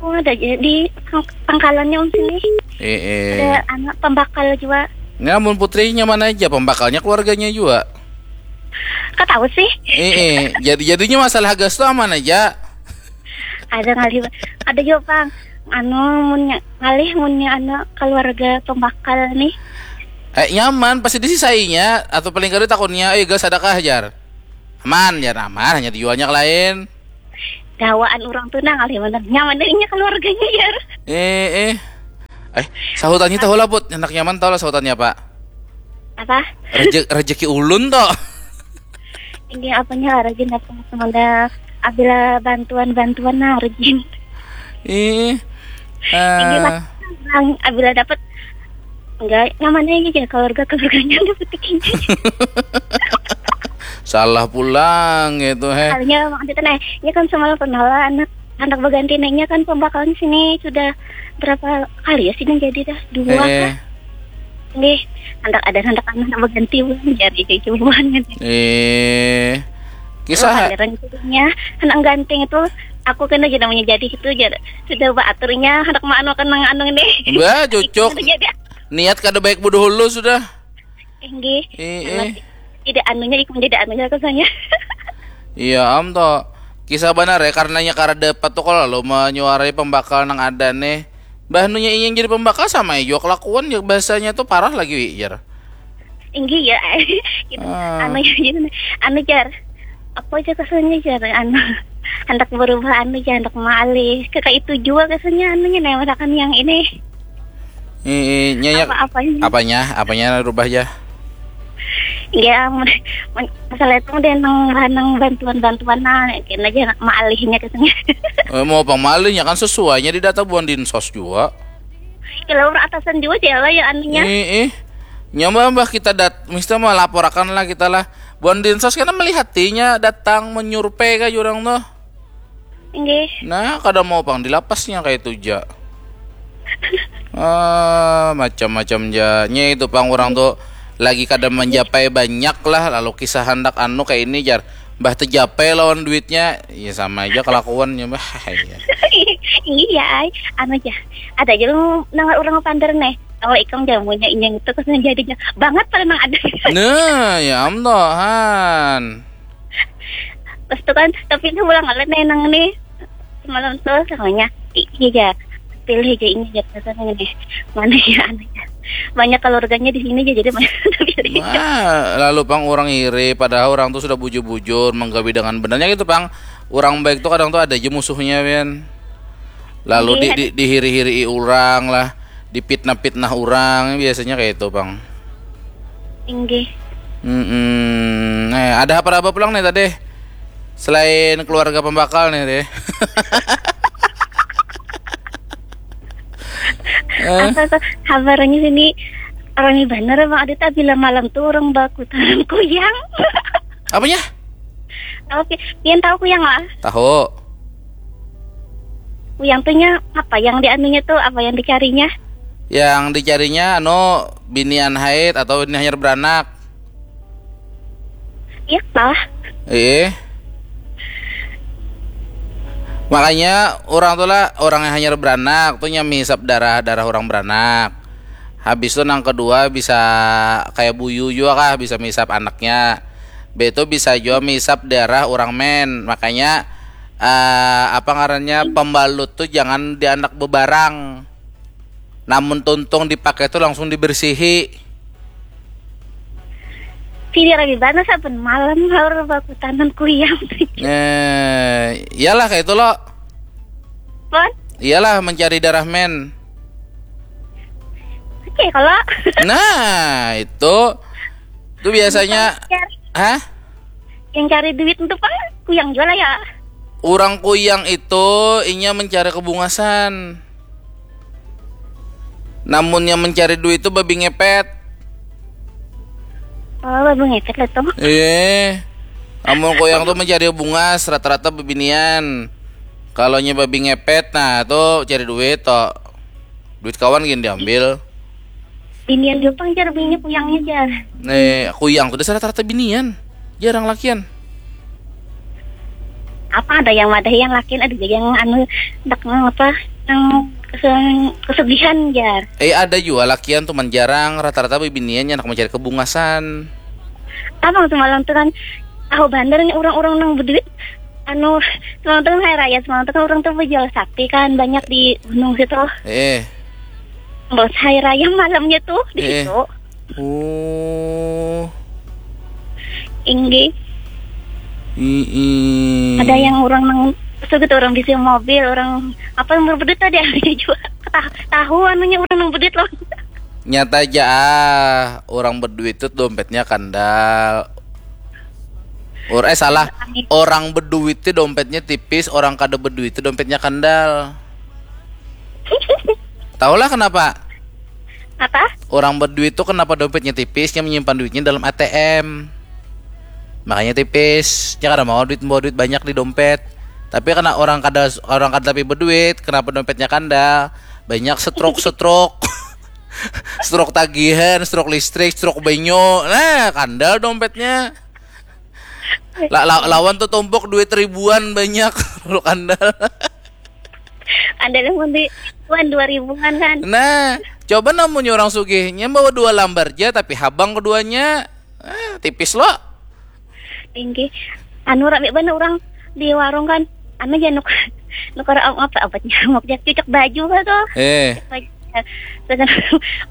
Oh ada aja di pang- pangkalannya om sini. Eh, eh. Ada anak pembakal juga. Ini amun putrinya mana aja pembakalnya keluarganya juga. Kau tahu sih? Eh, eh. Jadi jadinya masalah gas tuh aman aja. Ada ngalih. Ada juga pang. Anu munnya ngalih munnya anak keluarga pembakal nih. Eh, nyaman, pasti disisainya, atau paling kada takunnya, "Eh, gas, ada kah?" jar. "Aman," jar, "aman, hanya dijualnya ke lain." Gawaan orang tuh nang alih bener. Nyaman deh inya keluarganya, jar. Eh, eh. Eh, sahutannya tahu lah, Put. Anak nyaman tahu lah sahutannya apa. Apa? Reje-, rezeki ulun toh. Ini apanya, rajin apa, semoga abila bantuan-bantuan, nah, rajin. Ih. Ini, eh, Mas, abila dapat, enggak, nyaman aja, keluarga-keluarganya dapat ini. Salah pulang gitu, he. Soalnya maksudnya, nah, ini kan semalam pernah lah anak, anak baganti nanya kan pembakalan sini sudah berapa kali ya sih yang jadi dah? Dua, eh, kah? Nggih, handak ada, handak anu, handak baganti buhan, jar, jadi cubuhan kan. Eh, kisah. Kadang jadinya handak ganting itu, aku kena jadi namanya jadi itu, jar. Sudah baaturnya, handak maanu akan nang anu nih. Bah, cucuk. Jadi. Niat kada baik bodoh hulu sudah. Eh, nggih. Eh, sangat eh. Tidak anunya, ikam jadi anunya rasanya. Iya, am toh. Kisah banar ya, karenanya kada dapat tuh kalau lalu menyuarai pembakal nang ada nih. Bah, nunya ingin jadi pembakal sama aja jua kelakuan ya, bahasanya tuh parah lagi, wi, jar. Inggih ya. Gitu. Ah. Anu ya, gitu. Anu, jar. Apa aja kesannya, jar? Anu, handak berubah anu, jar, handak maalih. Kayak itu jua kesannya anunya, nah, misalkan yang ini. Ih, ih, nyanyi. Apa-apanya? Apanya? Apanya rubah ya? Ya, men-, men-, masalah itu deh nang, nang bantuan-bantuan, nah, kena aja maalihnya kesannya. Eh, mau apa maalihnya, kan sesuainya di data buan dinsos jua. Kalau orang atasan juga sih lah ya anunya. Ih, ih. Nyoba, mbah, kita dat-, mesti melaporakan lah kita lah. Buan dinsos kan melihatinya datang menyurvei ka jurang tuh. Nggih. Nah, kada mau pang di lapasnya kayak itu ja. Ah, macam-macam ja. Nya itu pang, orang tuh lagi kada menjapai banyak lah, lalu kisah handak anu kayak ini, jar. Mbah terjapai lawan duitnya, ya sama aja kelakuannya, mbah. Iya. Iya, ay. Anu aja. Ada aja lu nang orang pander nih. Kalau ikam jamunya inyang itu kesannya jadinya banget pada nang ada. Nah, ya am toh, han. Pas tu kan, tapi itu ulang kali nih nang nih. Semalam tuh samanya, "Ini aja, pilih aja ini aja," katanya nih. "Mana ya, anu ya? Banyak keluarganya di sini aja, jadi mana pilih aja." Wah, lalu pang orang iri, padahal orang tuh sudah bujur-bujur menggawi dengan benarnya gitu, pang. Orang baik tuh kadang tuh ada aja musuhnya, Wian. Lalu di, iya, di, dihiri-hiri orang lah, dipitnah-pitnah orang, biasanya kayak itu, pang. Inggih. Mm-mm. Eh, ada apa-apa pulang nih tadi? Selain keluarga pembakal nih, deh. Eh? Apa tuh? Kabarnya sini rami banar, Bang Adit. Bila malam tuh orang baku tanam kuyang. Apanya? Oke, pian tahu kuyang lah? Tahu. Kuyang tuh nya apa yang dianunya tuh, apa yang dicarinya? Yang dicarinya anu, binian haid atau ini hanyar beranak. Iya lah. Eh. Makanya orang tuh lah, orang yang hanyar beranak tuh nya menghisap darah, darah orang beranak. Habis tuh nang kedua bisa kayak buyu juga kah, bisa menghisap anaknya. Be itu bisa juga menghisap darah orang men. Makanya eh, apa ngarannya, pembalut tuh jangan diandak bebarang. Namun tuntung dipakai tuh langsung dibersihi. Sini rami banar saben malam haur baku tanam kuyang. Eh, iyalah kayak itu lo. Pon? Iyalah mencari darah men. Oke, kalau. Nah, itu tuh biasanya, hah? Yang cari duit untuk apa? Kuyang jual ya. Orang kuyang itu inya mencari kebungasan. Namun yang mencari duit itu babi ngepet. Oh, babi ngepet lah tuh. Iya. Amun kuyang tuh mencari bungas, rata-rata bebinian. Kalau nya babi ngepet, nah tuh cari duit toh. Duit kawan gini diambil. Binian jua pang jar, bini kuyangnya jar. Eh, kuyang tuh dasar rata-rata binian. Jarang lakian. Apa ada yang madahi yang lakian, ada juga yang anu, dak nang apa, nang kesel-, kesugihan jar. Eh, ada juga lakian tuh man jarang, rata-rata bibinian yang nak mencari kebungasan. Abang semalam tuh kan tahu bandar nih orang-orang nang berduit. Anu, semalam tuh kan hari raya, semalam tuh kan orang tuh berjual sapi kan banyak di gunung situ. Eh. Bos hari raya malamnya tuh di Eh. situ. Oh. Inggih. Mm-mm. Ada yang orang nang suka tuh orang bisi mobil, orang apa yang berbeduit tadi ada juga. Tahu, tahu anunya orang nang beduit loh. Nyata aja ah, orang berduit tuh dompetnya kandal. Or eh salah, orang berduit tuh dompetnya tipis, orang kada berduit tuh dompetnya kandal. Tahulah kenapa? Apa? Orang berduit tuh kenapa dompetnya tipis? Yang menyimpan duitnya dalam A T M. Makanya tipis. Dia kada mau duit, bawa duit banyak di dompet. Tapi karena orang kada orang kada tapi berduit, kenapa dompetnya kandal? Banyak stroke-stroke. Stroke tagihan, stroke listrik, stroke banyu. Nah, kandal dompetnya. La, la, lawan tuh tumpuk duit ribuan banyak. Lu kandal. Ada yang mau di tuan dua ribuan kan? Nah, coba namanya orang sugihnya bawa dua lambar aja tapi habang keduanya. Ah, tipis lo. Tinggi. Anu rame banget orang di warung kan. Anu aja nuk nukar apa apa nyamuk aja cucuk baju lah tuh. Eh, Terus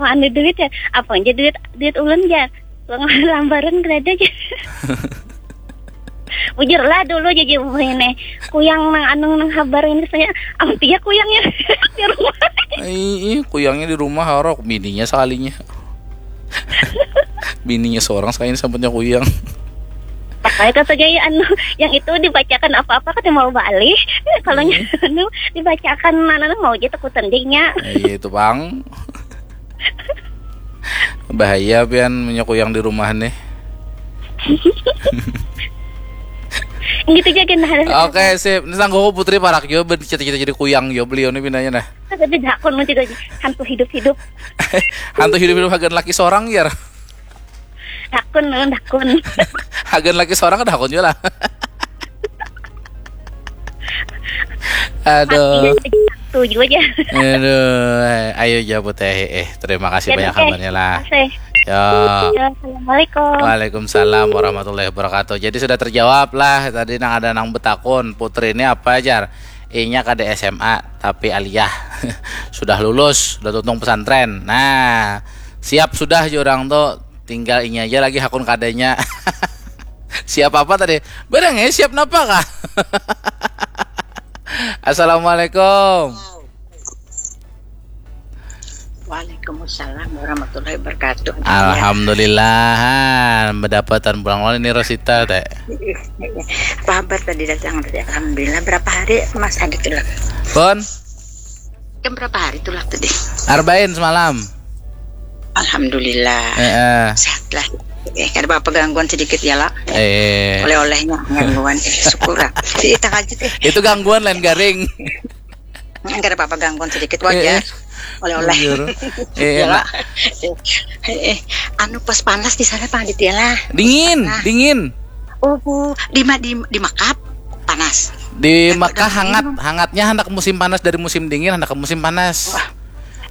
mau anu duit ya, apa aja duit duit ulun aja. Uang lambaran kada ada aja. Bujur lah dulu aja ini. Kuyang nang anu nang habar ini saya. Apa dia kuyangnya di rumah? Ih, kuyangnya di rumah harok bininya sekalinya. Bininya seorang sekalinya sambutnya kuyang. Pakai kata gaya anu yang itu dibacakan apa-apa kata mau balik. Kalau anu dibacakan mana mau aja takutan dehnya. Eh, iya itu bang. Bahaya pian menyokuyang di rumah nih. Gitu aja kan. Oke sip, ini sanggup putri parak jo bercita-cita jadi kuyang jo beliau nih pinanya nah. Tapi dakun mun juga hantu hidup-hidup. Hantu hidup-hidup hagan laki seorang ya. Dakun, nun, dakun. Hagan laki seorang ada hakun juga lah. Aduh. Tujuh aja. Aduh, ayo jawab teh. Eh, terima kasih banyak kabarnya lah. Oke. Ya. Ya, assalamualaikum. Waalaikumsalam warahmatullahi wabarakatuh. Jadi sudah terjawab lah tadi nang ada nang betakun Putri ini apa ajar? Inya kada S M A tapi aliyah sudah lulus, sudah tuntung pesantren. Nah, siap sudah je orang tuh, tinggal inya aja lagi hakun kadanya. Siap apa tadi? Barang ya siap napa kah? Assalamualaikum. Waalaikumsalam warahmatullahi wabarakatuh. Alhamdulillah, bedapatan pulang lawan ini Rosita teh. Pahabat tadi datang tadi, alhamdulillah. Berapa hari Mas Adit tulang? Pun, Kan berapa hari tulang tadi? Arbain semalam. Alhamdulillah. Eh, eh. Sehat lah. Eh, kada apa-apa gangguan sedikit ya lah. Eh. Oleh-olehnya gangguan. Eh, syukur lah. Si takajut eh. Itu gangguan lain garing. Enggak ada apa-apa gangguan sedikit wajar. Eh, Oleh-oleh. Bujur. Eh, Ya lah. enak. Eh, eh, anu pas panas di sana Pak Adit ya lah. Dingin, Nah. Dingin. Oh, Bu, di, Ma- di, di Makkah panas. Di Aku Makkah udah hangat, minum. Hangatnya hendak musim panas dari musim dingin, hendak ke musim panas. Wah,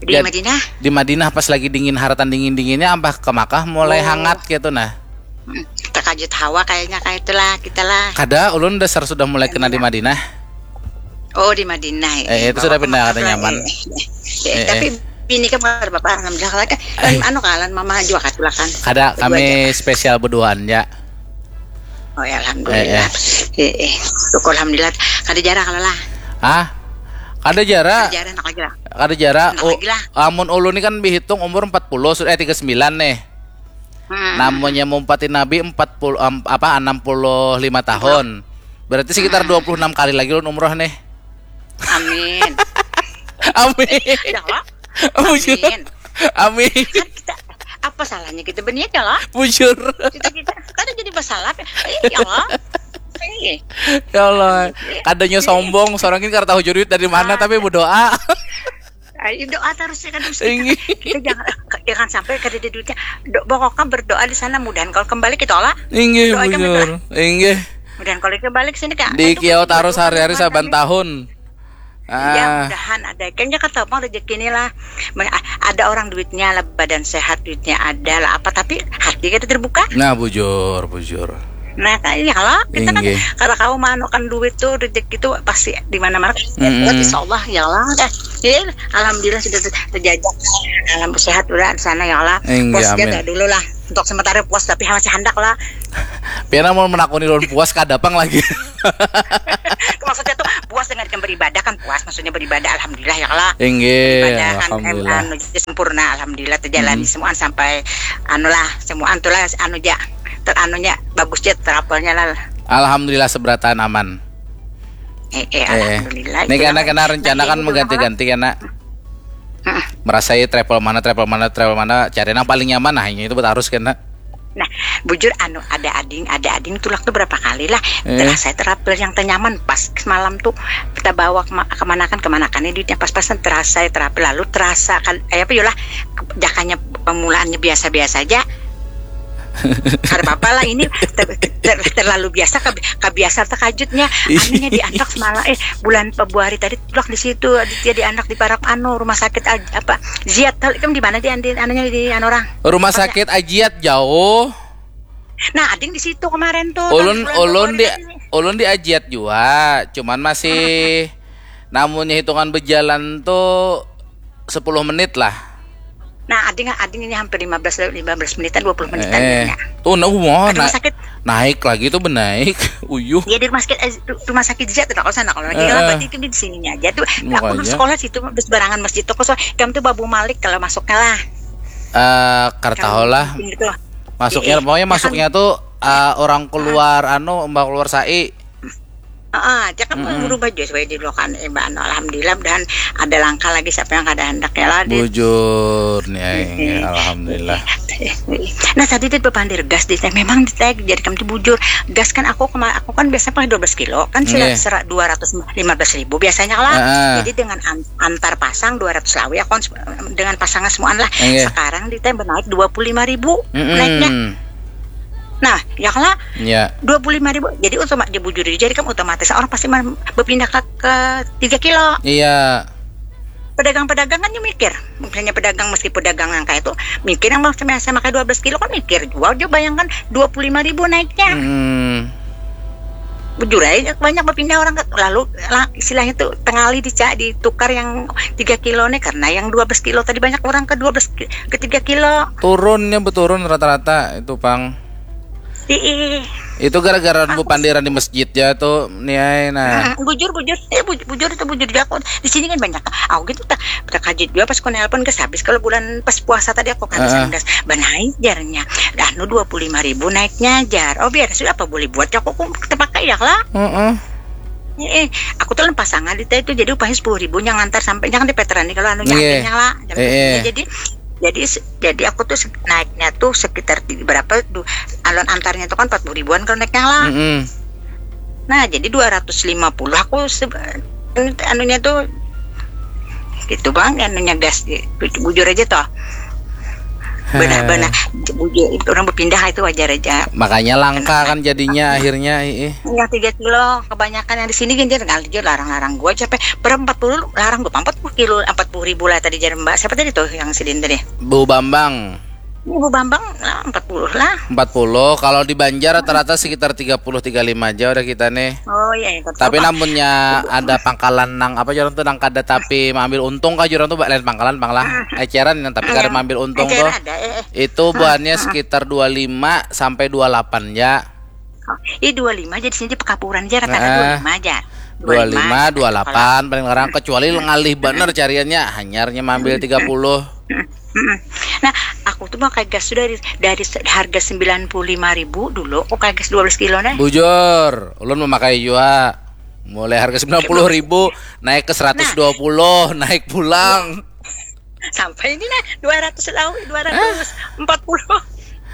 di Jad- Madinah. Di Madinah pas lagi dingin, haratan dingin dinginnya, ambah ke Makkah mulai Oh. Hangat gitu nah. Hmm, terkajut hawa kayaknya kayak itulah kita lah. Kada, ulun dasar sudah mulai kena di Madinah. Oh, di Madinah. Eh, itu sudah pindah, kada nyaman. Eh, Eh, tapi bini kan bapak alhamdulillah kan. Anu kalan mama juga katulakan. Kada, kami spesial berduaan ya. Oh ya alhamdulillah. Eh, eh. Syukur alhamdulillah. Kada jarang kalau lah. Hah? Kada jara. Jarang nak lagi lah. Kada jara. Anak Oh, lagi lah. Amun ulun ni kan dihitung umur empat puluh sudah eh, tiga sembilan nih. Hmm. Namanya mumpati Nabi empat puluh em, apa enam puluh lima tahun. Berarti sekitar dua puluh enam kali lagi ulun umroh nih. Amin. Amin. Ya Allah. Bujur. Amin. Amin. Kan kita apa salahnya kita berniat ya lah? Bujur. Kita kita kan jadi masalah. Eh, ya Allah. Eh, Ya Allah. Kadanya sombong, seorang ini kada tahu duit dari mana Ah. Tapi berdoa. Ayo doa terus ya kan terus Inggih. Kita jangan jangan sampai kada ada duitnya. Do, pokoknya berdoa di sana mudahan kalau kembali kita olah. Inggih Doa aja bujur. Inggih. Mudahan kalau kembali ke sini kak. Di Itu kiau kan tarus berdoa hari-hari sama saban kami. Tahun. Ya Ah, mudahan ada kayaknya kata bang rezeki ini lah. Men- a- Ada orang duitnya lah badan sehat duitnya ada lah apa tapi hati kita terbuka. Nah bujur, bujur. Nah kayaknya kalau kita kan Inggih. Kalau kau manukan duit tuh rezeki tuh pasti di mana-mana. Mm-mm. Insya Allah ya Allah. Iya, alhamdulillah sudah ter- terjajah. Alhamdulillah sehat udah di sana ya Allah. Enggak, Puas amin. Jaga dulu lah. Untuk sementara puas tapi masih handak lah. Pian mau menakuni lawan puas kada pang lagi. Maksudnya tuh puas dengan yang beribadah kan puas, maksudnya beribadah alhamdulillah ya Allah. Inggih, Ibadah kan em, alhamdulillah. Anu, jadi sempurna alhamdulillah terjalani Mhm. semua sampai anu lah semua antulah anu ja teranunya bagus ja travelnya lah. Alhamdulillah seberatan aman. Eh, eh, Eh, alhamdulillah. ini Itulah. Kena kena rencana Nah, kan ini mengganti-ganti Kena. Heeh. Merasai travel mana, travel mana, travel mana, cari yang paling nyaman nah ini itu betul harus Kena. Nah, bujur anu ada ading, ada ading tulak tuh berapa kali lah. Eh. Terasa travel yang ternyaman pas semalam tuh kita bawa kema- kemanakan kemanakannya duitnya pas-pasan terasa travel lalu terasa kan eh apa yolah jakanya pemulaannya biasa-biasa aja. Kada apa-apa lah ini ter- ter- terlalu biasa kab- kabiasa terkajutnya anunya di anak semalam eh bulan Februari tadi tulak di situ Aditya di anak di parak anu rumah sakit aj- apa Ziat tahu kan di mana di andi anunya di anu orang Rumah sakit Ajiat jauh. Nah, ading di situ kemarin tuh. Ulun Bulan ulun Februari di tadi. Ulun di Ajiat jua, cuman masih namunnya hitungan berjalan tuh sepuluh menit lah. Nah, ading ading ini hampir lima belas lima belas menitan dua puluh menitan Eh, ya. Tuh nah, wah, Ada rumah na- sakit. Naik lagi tuh benaik. Uyuh. Ya di rumah sakit eh, rumah sakit Ziat tuh kalau sana kalau lagi Heeh. kalau berarti itu di sininya aja tuh. Nah, aku Makanya. Dulu sekolah situ seberangan masjid tuh kosong. Kamu tuh Babu Malik kalau masuknya lah. Eh, kartaho lah. Gitu. Masuknya Iya. pokoknya Ya kan? Masuknya tuh eh, orang keluar anu mbak keluar sai. Heeh, dia kan Mm-mm. berubah juga sebagai di lokan eh, Mbak Anu. Alhamdulillah dan ada langkah lagi siapa yang kada hendaknya lah di Bujur nih aing, Mm-mm. Alhamdulillah. Nah tadi dia berpandir gas di memang di tag jadi kamu tuh bujur gas kan aku kema aku kan biasanya pakai dua belas kilo kan sila Nggih. serak dua ratus lima belas ribu biasanya lah Heeh. Jadi dengan an- antar pasang dua ratus lawi aku kan se- dengan pasangan semuaan lah Nggih. Sekarang di tag naik dua puluh lima ribu Mm-mm. naiknya Nah ya kalau Ya. dua puluh lima ribu jadi otomatis bujur jadi kamu otomatis orang pasti men- berpindah ke, ke tiga kilo Iya. pedagang-pedagang kan dia mikir misalnya pedagang meskipun pedagang yang kayak itu mikir yang mau saya pakai dua belas kilo kan mikir jual juga bayangkan dua puluh lima ribu naiknya Hmm. bujur aja banyak berpindah orang ke, lalu lah, istilahnya tuh tengali dica ditukar yang tiga kilo nih karena yang dua belas kilo tadi banyak orang ke dua belas ki- ke tiga kilo Turunnya beturun rata-rata itu pang. Ih, Itu gara-gara bu pandiran di masjid ya tuh niai nah. Mm, bujur bujur eh bujur, bujur itu bujur juga aku di sini kan banyak aku gitu tak terkajut juga pas aku nelpon gas habis kalau bulan pas puasa tadi aku kan Heeh. gas benaik jarnya dah nu dua puluh lima ribu naiknya jar oh biar sudah apa boleh buat aku aku terpakai ya lah Heeh. eh aku tuh pasangan di itu jadi upahnya sepuluh ribu yang ngantar sampai jangan di veteran nih kalau anunya Iya. akhirnya lah Eh, eh. jadi jadi se- jadi aku tuh se- naiknya tuh sekitar di berapa du, alon antarnya tuh kan empat puluh ribuan kalau naiknya lah Mm-mm. Nah, jadi dua ratus lima puluh aku se- anunya tuh gitu bang anunya gas di- bujur aja toh benar-benar bujur orang berpindah itu wajar aja Makanya langka kan jadinya akhirnya ih. yang tiga kilo kebanyakan yang di sini kan dia kali dia larang-larang gua sampai berapa empat puluh larang gua empat puluh kilo empat puluh ribu lah tadi jadi mbak siapa tadi tuh yang sidin tadi Bu Bambang ibu bambang lah empat puluh lah empat puluh kalau di Banjar rata-rata sekitar tiga puluh tiga lima aja udah kita nih. oh iya itu Tapi namunnya ada pangkalan nang apa jalan tuh nang kada tapi mengambil untung kah jurang tuh lain pangkalan pang lah eceran yang tapi kada mengambil untung tuh ada eh, eh. Itu buahnya sekitar dua lima sampai dua delapan ya. Ih dua lima aja di sini di Pekapuran aja rata-rata Nah. dua lima aja. Dua lima, dua delapan paling larang kecuali ngalih bener cariannya hanyarnya mambil tiga puluh. Mm-mm. Nah, aku tuh pakai gas tuh dari dari se- harga sembilan puluh lima ribu dulu, aku pakai gas dua belas kilo nih. Bujur, ulun memakai juga. Mulai harga sembilan puluh ribu naik ke seratus dua puluh, naik pulang. Sampai ini nah dua ratus lawi, dua ratus empat puluh.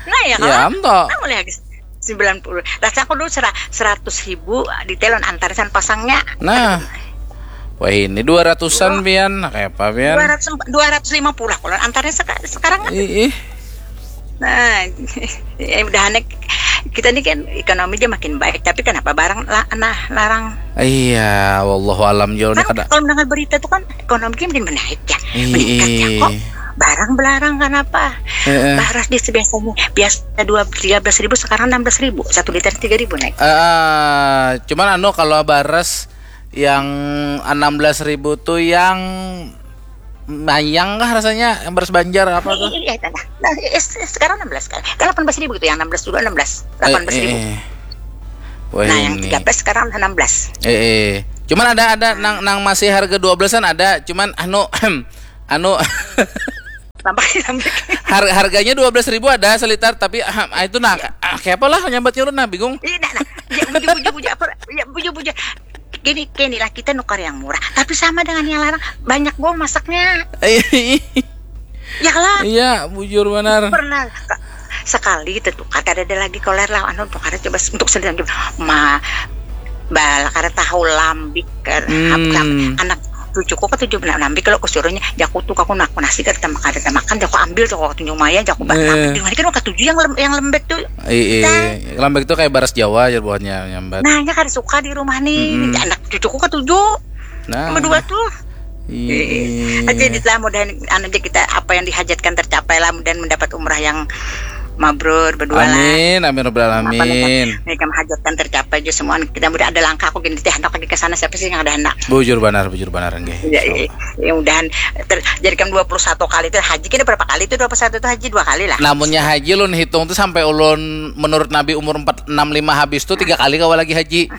Nah, ya Ya, kan? am toh. Nah, mulai harga sembilan puluh. Rasa aku dulu sera- seratus ribu di telon antarisan pasangnya. Nah. Wah, ini dua ratusan pian. Nah, kayak apa pian? Dua ratus dua ratus lima puluh lah kalau antarnya seka- sekarang kan. Ih, ih. Nah, ya udah aneh. Kita ini kan ekonomi dia makin baik, tapi kenapa barang la- nah larang? Iya, wallahu alam jauh nih Kan kada. Kalau mendengar berita tuh kan ekonomi dia makin menaik ya, Iya. meningkat ya kok. Barang belarang kenapa? Heeh. Baras dia biasanya biasa dua tiga belas ribu sekarang enam belas ribu satu liter tiga ribu naik. Eh, cuman anu kalau baras yang enam belas ribu tuh yang Mayang kah rasanya, yang beras Banjar apa tuh? Iya, iya, iya. Nah, eh, eh, sekarang enam belas kan? Kan delapan belas ribu gitu, yang enam belas dulu enam belas, delapan belas ribu. Eh, eh. Wah, Nah, yang ini. tiga belas sekarang enam belas. Eh, eh. Cuman ada ada nang nang masih harga dua belasan ada, cuman anu anu Tambah tambah. har, harganya dua belas ribu ada selitar, tapi ah, itu nah ka- ah, kayak apalah nyambat nyurut nah, bingung. Iya, nah, nah. Ya, buju buju buju apa? Ya, buju buju. Gini, gini lah, kita nukar yang murah, tapi sama dengan yang larang, banyak gol masaknya. Ya lah. Iya, bujur benar. Pernah ka- sekali kita tukar, ada ada lagi koler lah, anu, tukar coba untuk sendiri, ma bal kada tahu lambik kan. Hmm. Anak cucuku ketujuh benar lambik, kalau kusuruhnya jaku tuh aku nak nasi kada makan, kada makan, jaku ambil tuh, aku tunjuk maya, jaku ba- Eh. lambik dengan kan ketujuh yang lem, yang lembek tuh. Iya, Nah. Lambek tuh kayak baras Jawa aja buahnya nyambat. Nah, nya kada suka di rumah nih. Mm-mm. Anak cucuku ketujuh. Nah. Kedua tuh. Iya. Aja lah, mudahan anu aja kita, apa yang dihajatkan tercapai lah, mudahan mendapat umrah yang mabrur berdua lah. Amin, amin, Rabbil Apa alamin. Nikam hajatkan tercapai juga semua. Kita mudah ada langkah aku gini teh, hendak lagi ke sana, siapa sih yang ada hendak? Bujur banar, bujur banar nggih. Ya, ya, ya, mudahan ter, jadi kan dua puluh satu kali itu haji, kita berapa kali itu dua puluh satu itu haji? Dua kali lah. Namunnya haji lun hitung tuh sampai ulun menurut Nabi umur empat enam lima habis tuh tiga kali kawa lagi haji.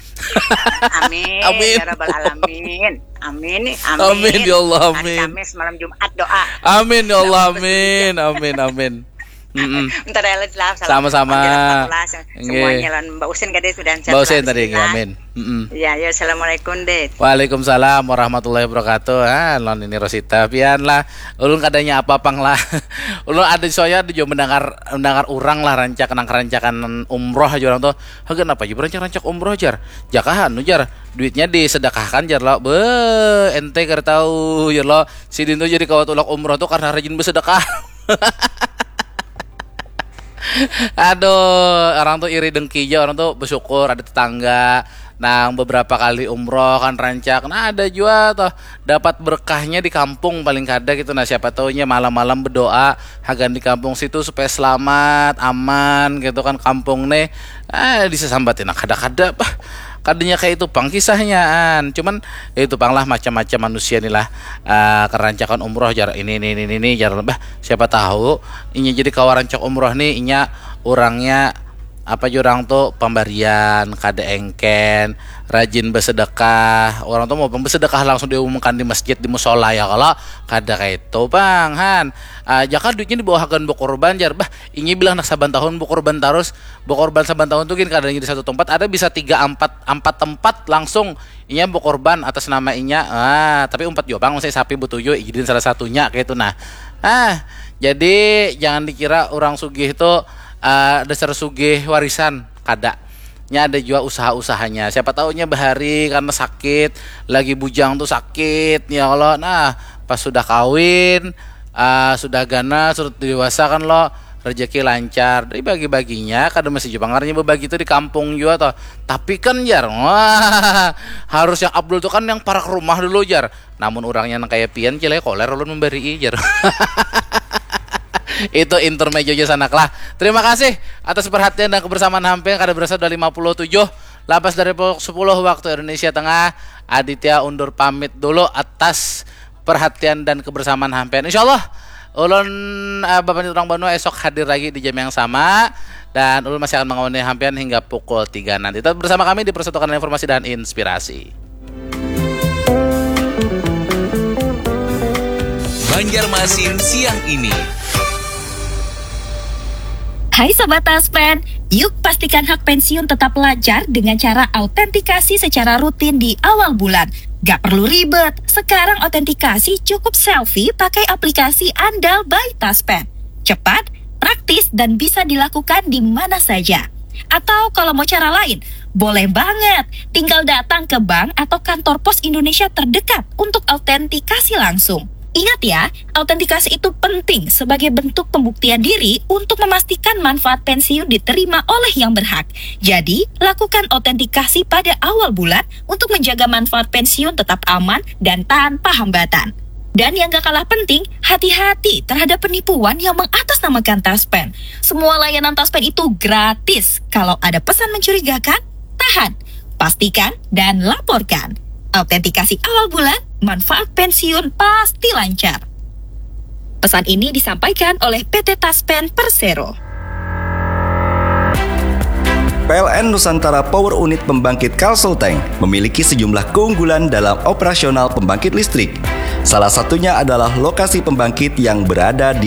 Amin. Amin. Ya Rabbal Alamin. Amin. Amin. Amin, ya Allah, Hari amin. Kamis, malam Jumat doa. Amin ya Allah, amin, amin, amin. Mm-mm. Bentar ya, lah, salam. Sama-sama. Panggil aku lah, se- Nggih. Semuanya lah, Mbak Usin kada sudah. Mbak Usin tadi, nggih, amin. Mm-mm. Ya, ya, assalamualaikum deh. Waalaikumsalam warahmatullahi wabarakatuh. Ah, non ini Rosita, pian lah. Ulun kadanya apa pang lah. Ulun ada soalnya ada juga mendengar mendengar orang lah rancak nang kerancakan umroh aja orang tuh. Hagan apa aja berancak-rancak umroh jar. Jakahan jar. Duitnya disedekahkan jar lo. Be, ente kada tahu jar lo. Sidin tuh jadi kawat ulak umroh tuh karena rajin bersedekah. Aduh, orang tuh iri dengki aja, orang tuh bersyukur ada tetangga nang beberapa kali umroh kan rancak. Nah, ada juga tuh dapat berkahnya di kampung paling kada gitu. Nah, siapa taunya malam-malam berdoa hagan di kampung situ supaya selamat, aman gitu kan kampung nih. Ah, disesambatin nah, kada-kada bah. Kadanya kayak itu pang kisahnya an. Cuman ya itu pang lah macam-macam manusia nih lah. Ah, kerancakan umroh jar ini ini ini ini jar bah siapa tahu inya jadi kawa rancak umroh nih inya orangnya apa jurang tuh pembarian kada engken rajin bersedekah orang tuh mau bersedekah langsung diumumkan di masjid di musola ya kalau kada kayak itu bang han ah, jaka duitnya dibawa hagan berkorban jar bah ini bilang nak saban tahun berkorban terus berkorban saban tahun tuh gin kadanya di satu tempat ada bisa tiga empat empat tempat langsung inya berkorban atas nama inya ah tapi umpat juga bang saya sapi betuju izin salah satunya kayak itu nah ah jadi jangan dikira orang sugih itu uh, dasar sugih warisan kada nya ada juga usaha-usahanya siapa tahunya bahari karena sakit lagi bujang tuh sakit ya Allah nah pas sudah kawin uh, sudah ganal sudah dewasa kan lo rezeki lancar dibagi-baginya kada masih juga ngaranya berbagi itu di kampung juga toh tapi kan jar wah harus yang Abdul tuh kan yang parak rumah dulu jar namun orangnya nang kaya pian cilai koler ulun memberi jar itu intermezzo aja sanak lah terima kasih atas perhatian dan kebersamaan hampir kada berasa udah lima puluh tujuh lapas dari pukul sepuluh waktu Indonesia Tengah Aditya undur pamit dulu atas perhatian dan kebersamaan hampir insyaallah ulun uh, bapak orang Banua esok hadir lagi di jam yang sama dan ulun masih akan mengawani hampir hingga pukul tiga nanti tetap bersama kami di Persatukan Informasi dan Inspirasi Banjarmasin siang ini. Hai Sobat Taspen, yuk pastikan hak pensiun tetap lancar dengan cara autentikasi secara rutin di awal bulan. Gak perlu ribet, sekarang autentikasi cukup selfie pakai aplikasi andal by Taspen. Cepat, praktis, dan bisa dilakukan di mana saja. Atau kalau mau cara lain, boleh banget. Tinggal datang ke bank atau kantor pos Indonesia terdekat untuk autentikasi langsung. Ingat ya, autentikasi itu penting sebagai bentuk pembuktian diri untuk memastikan manfaat pensiun diterima oleh yang berhak. Jadi, lakukan autentikasi pada awal bulan untuk menjaga manfaat pensiun tetap aman dan tanpa hambatan. Dan yang gak kalah penting, hati-hati terhadap penipuan yang mengatasnamakan Taspen. Semua layanan Taspen itu gratis. Kalau ada pesan mencurigakan, tahan, pastikan, dan laporkan. Autentikasi awal bulan, manfaat pensiun pasti lancar. Pesan ini disampaikan oleh P T Taspen Persero. P L N Nusantara Power Unit Pembangkit Kalsel Tank memiliki sejumlah keunggulan dalam operasional pembangkit listrik. Salah satunya adalah lokasi pembangkit yang berada di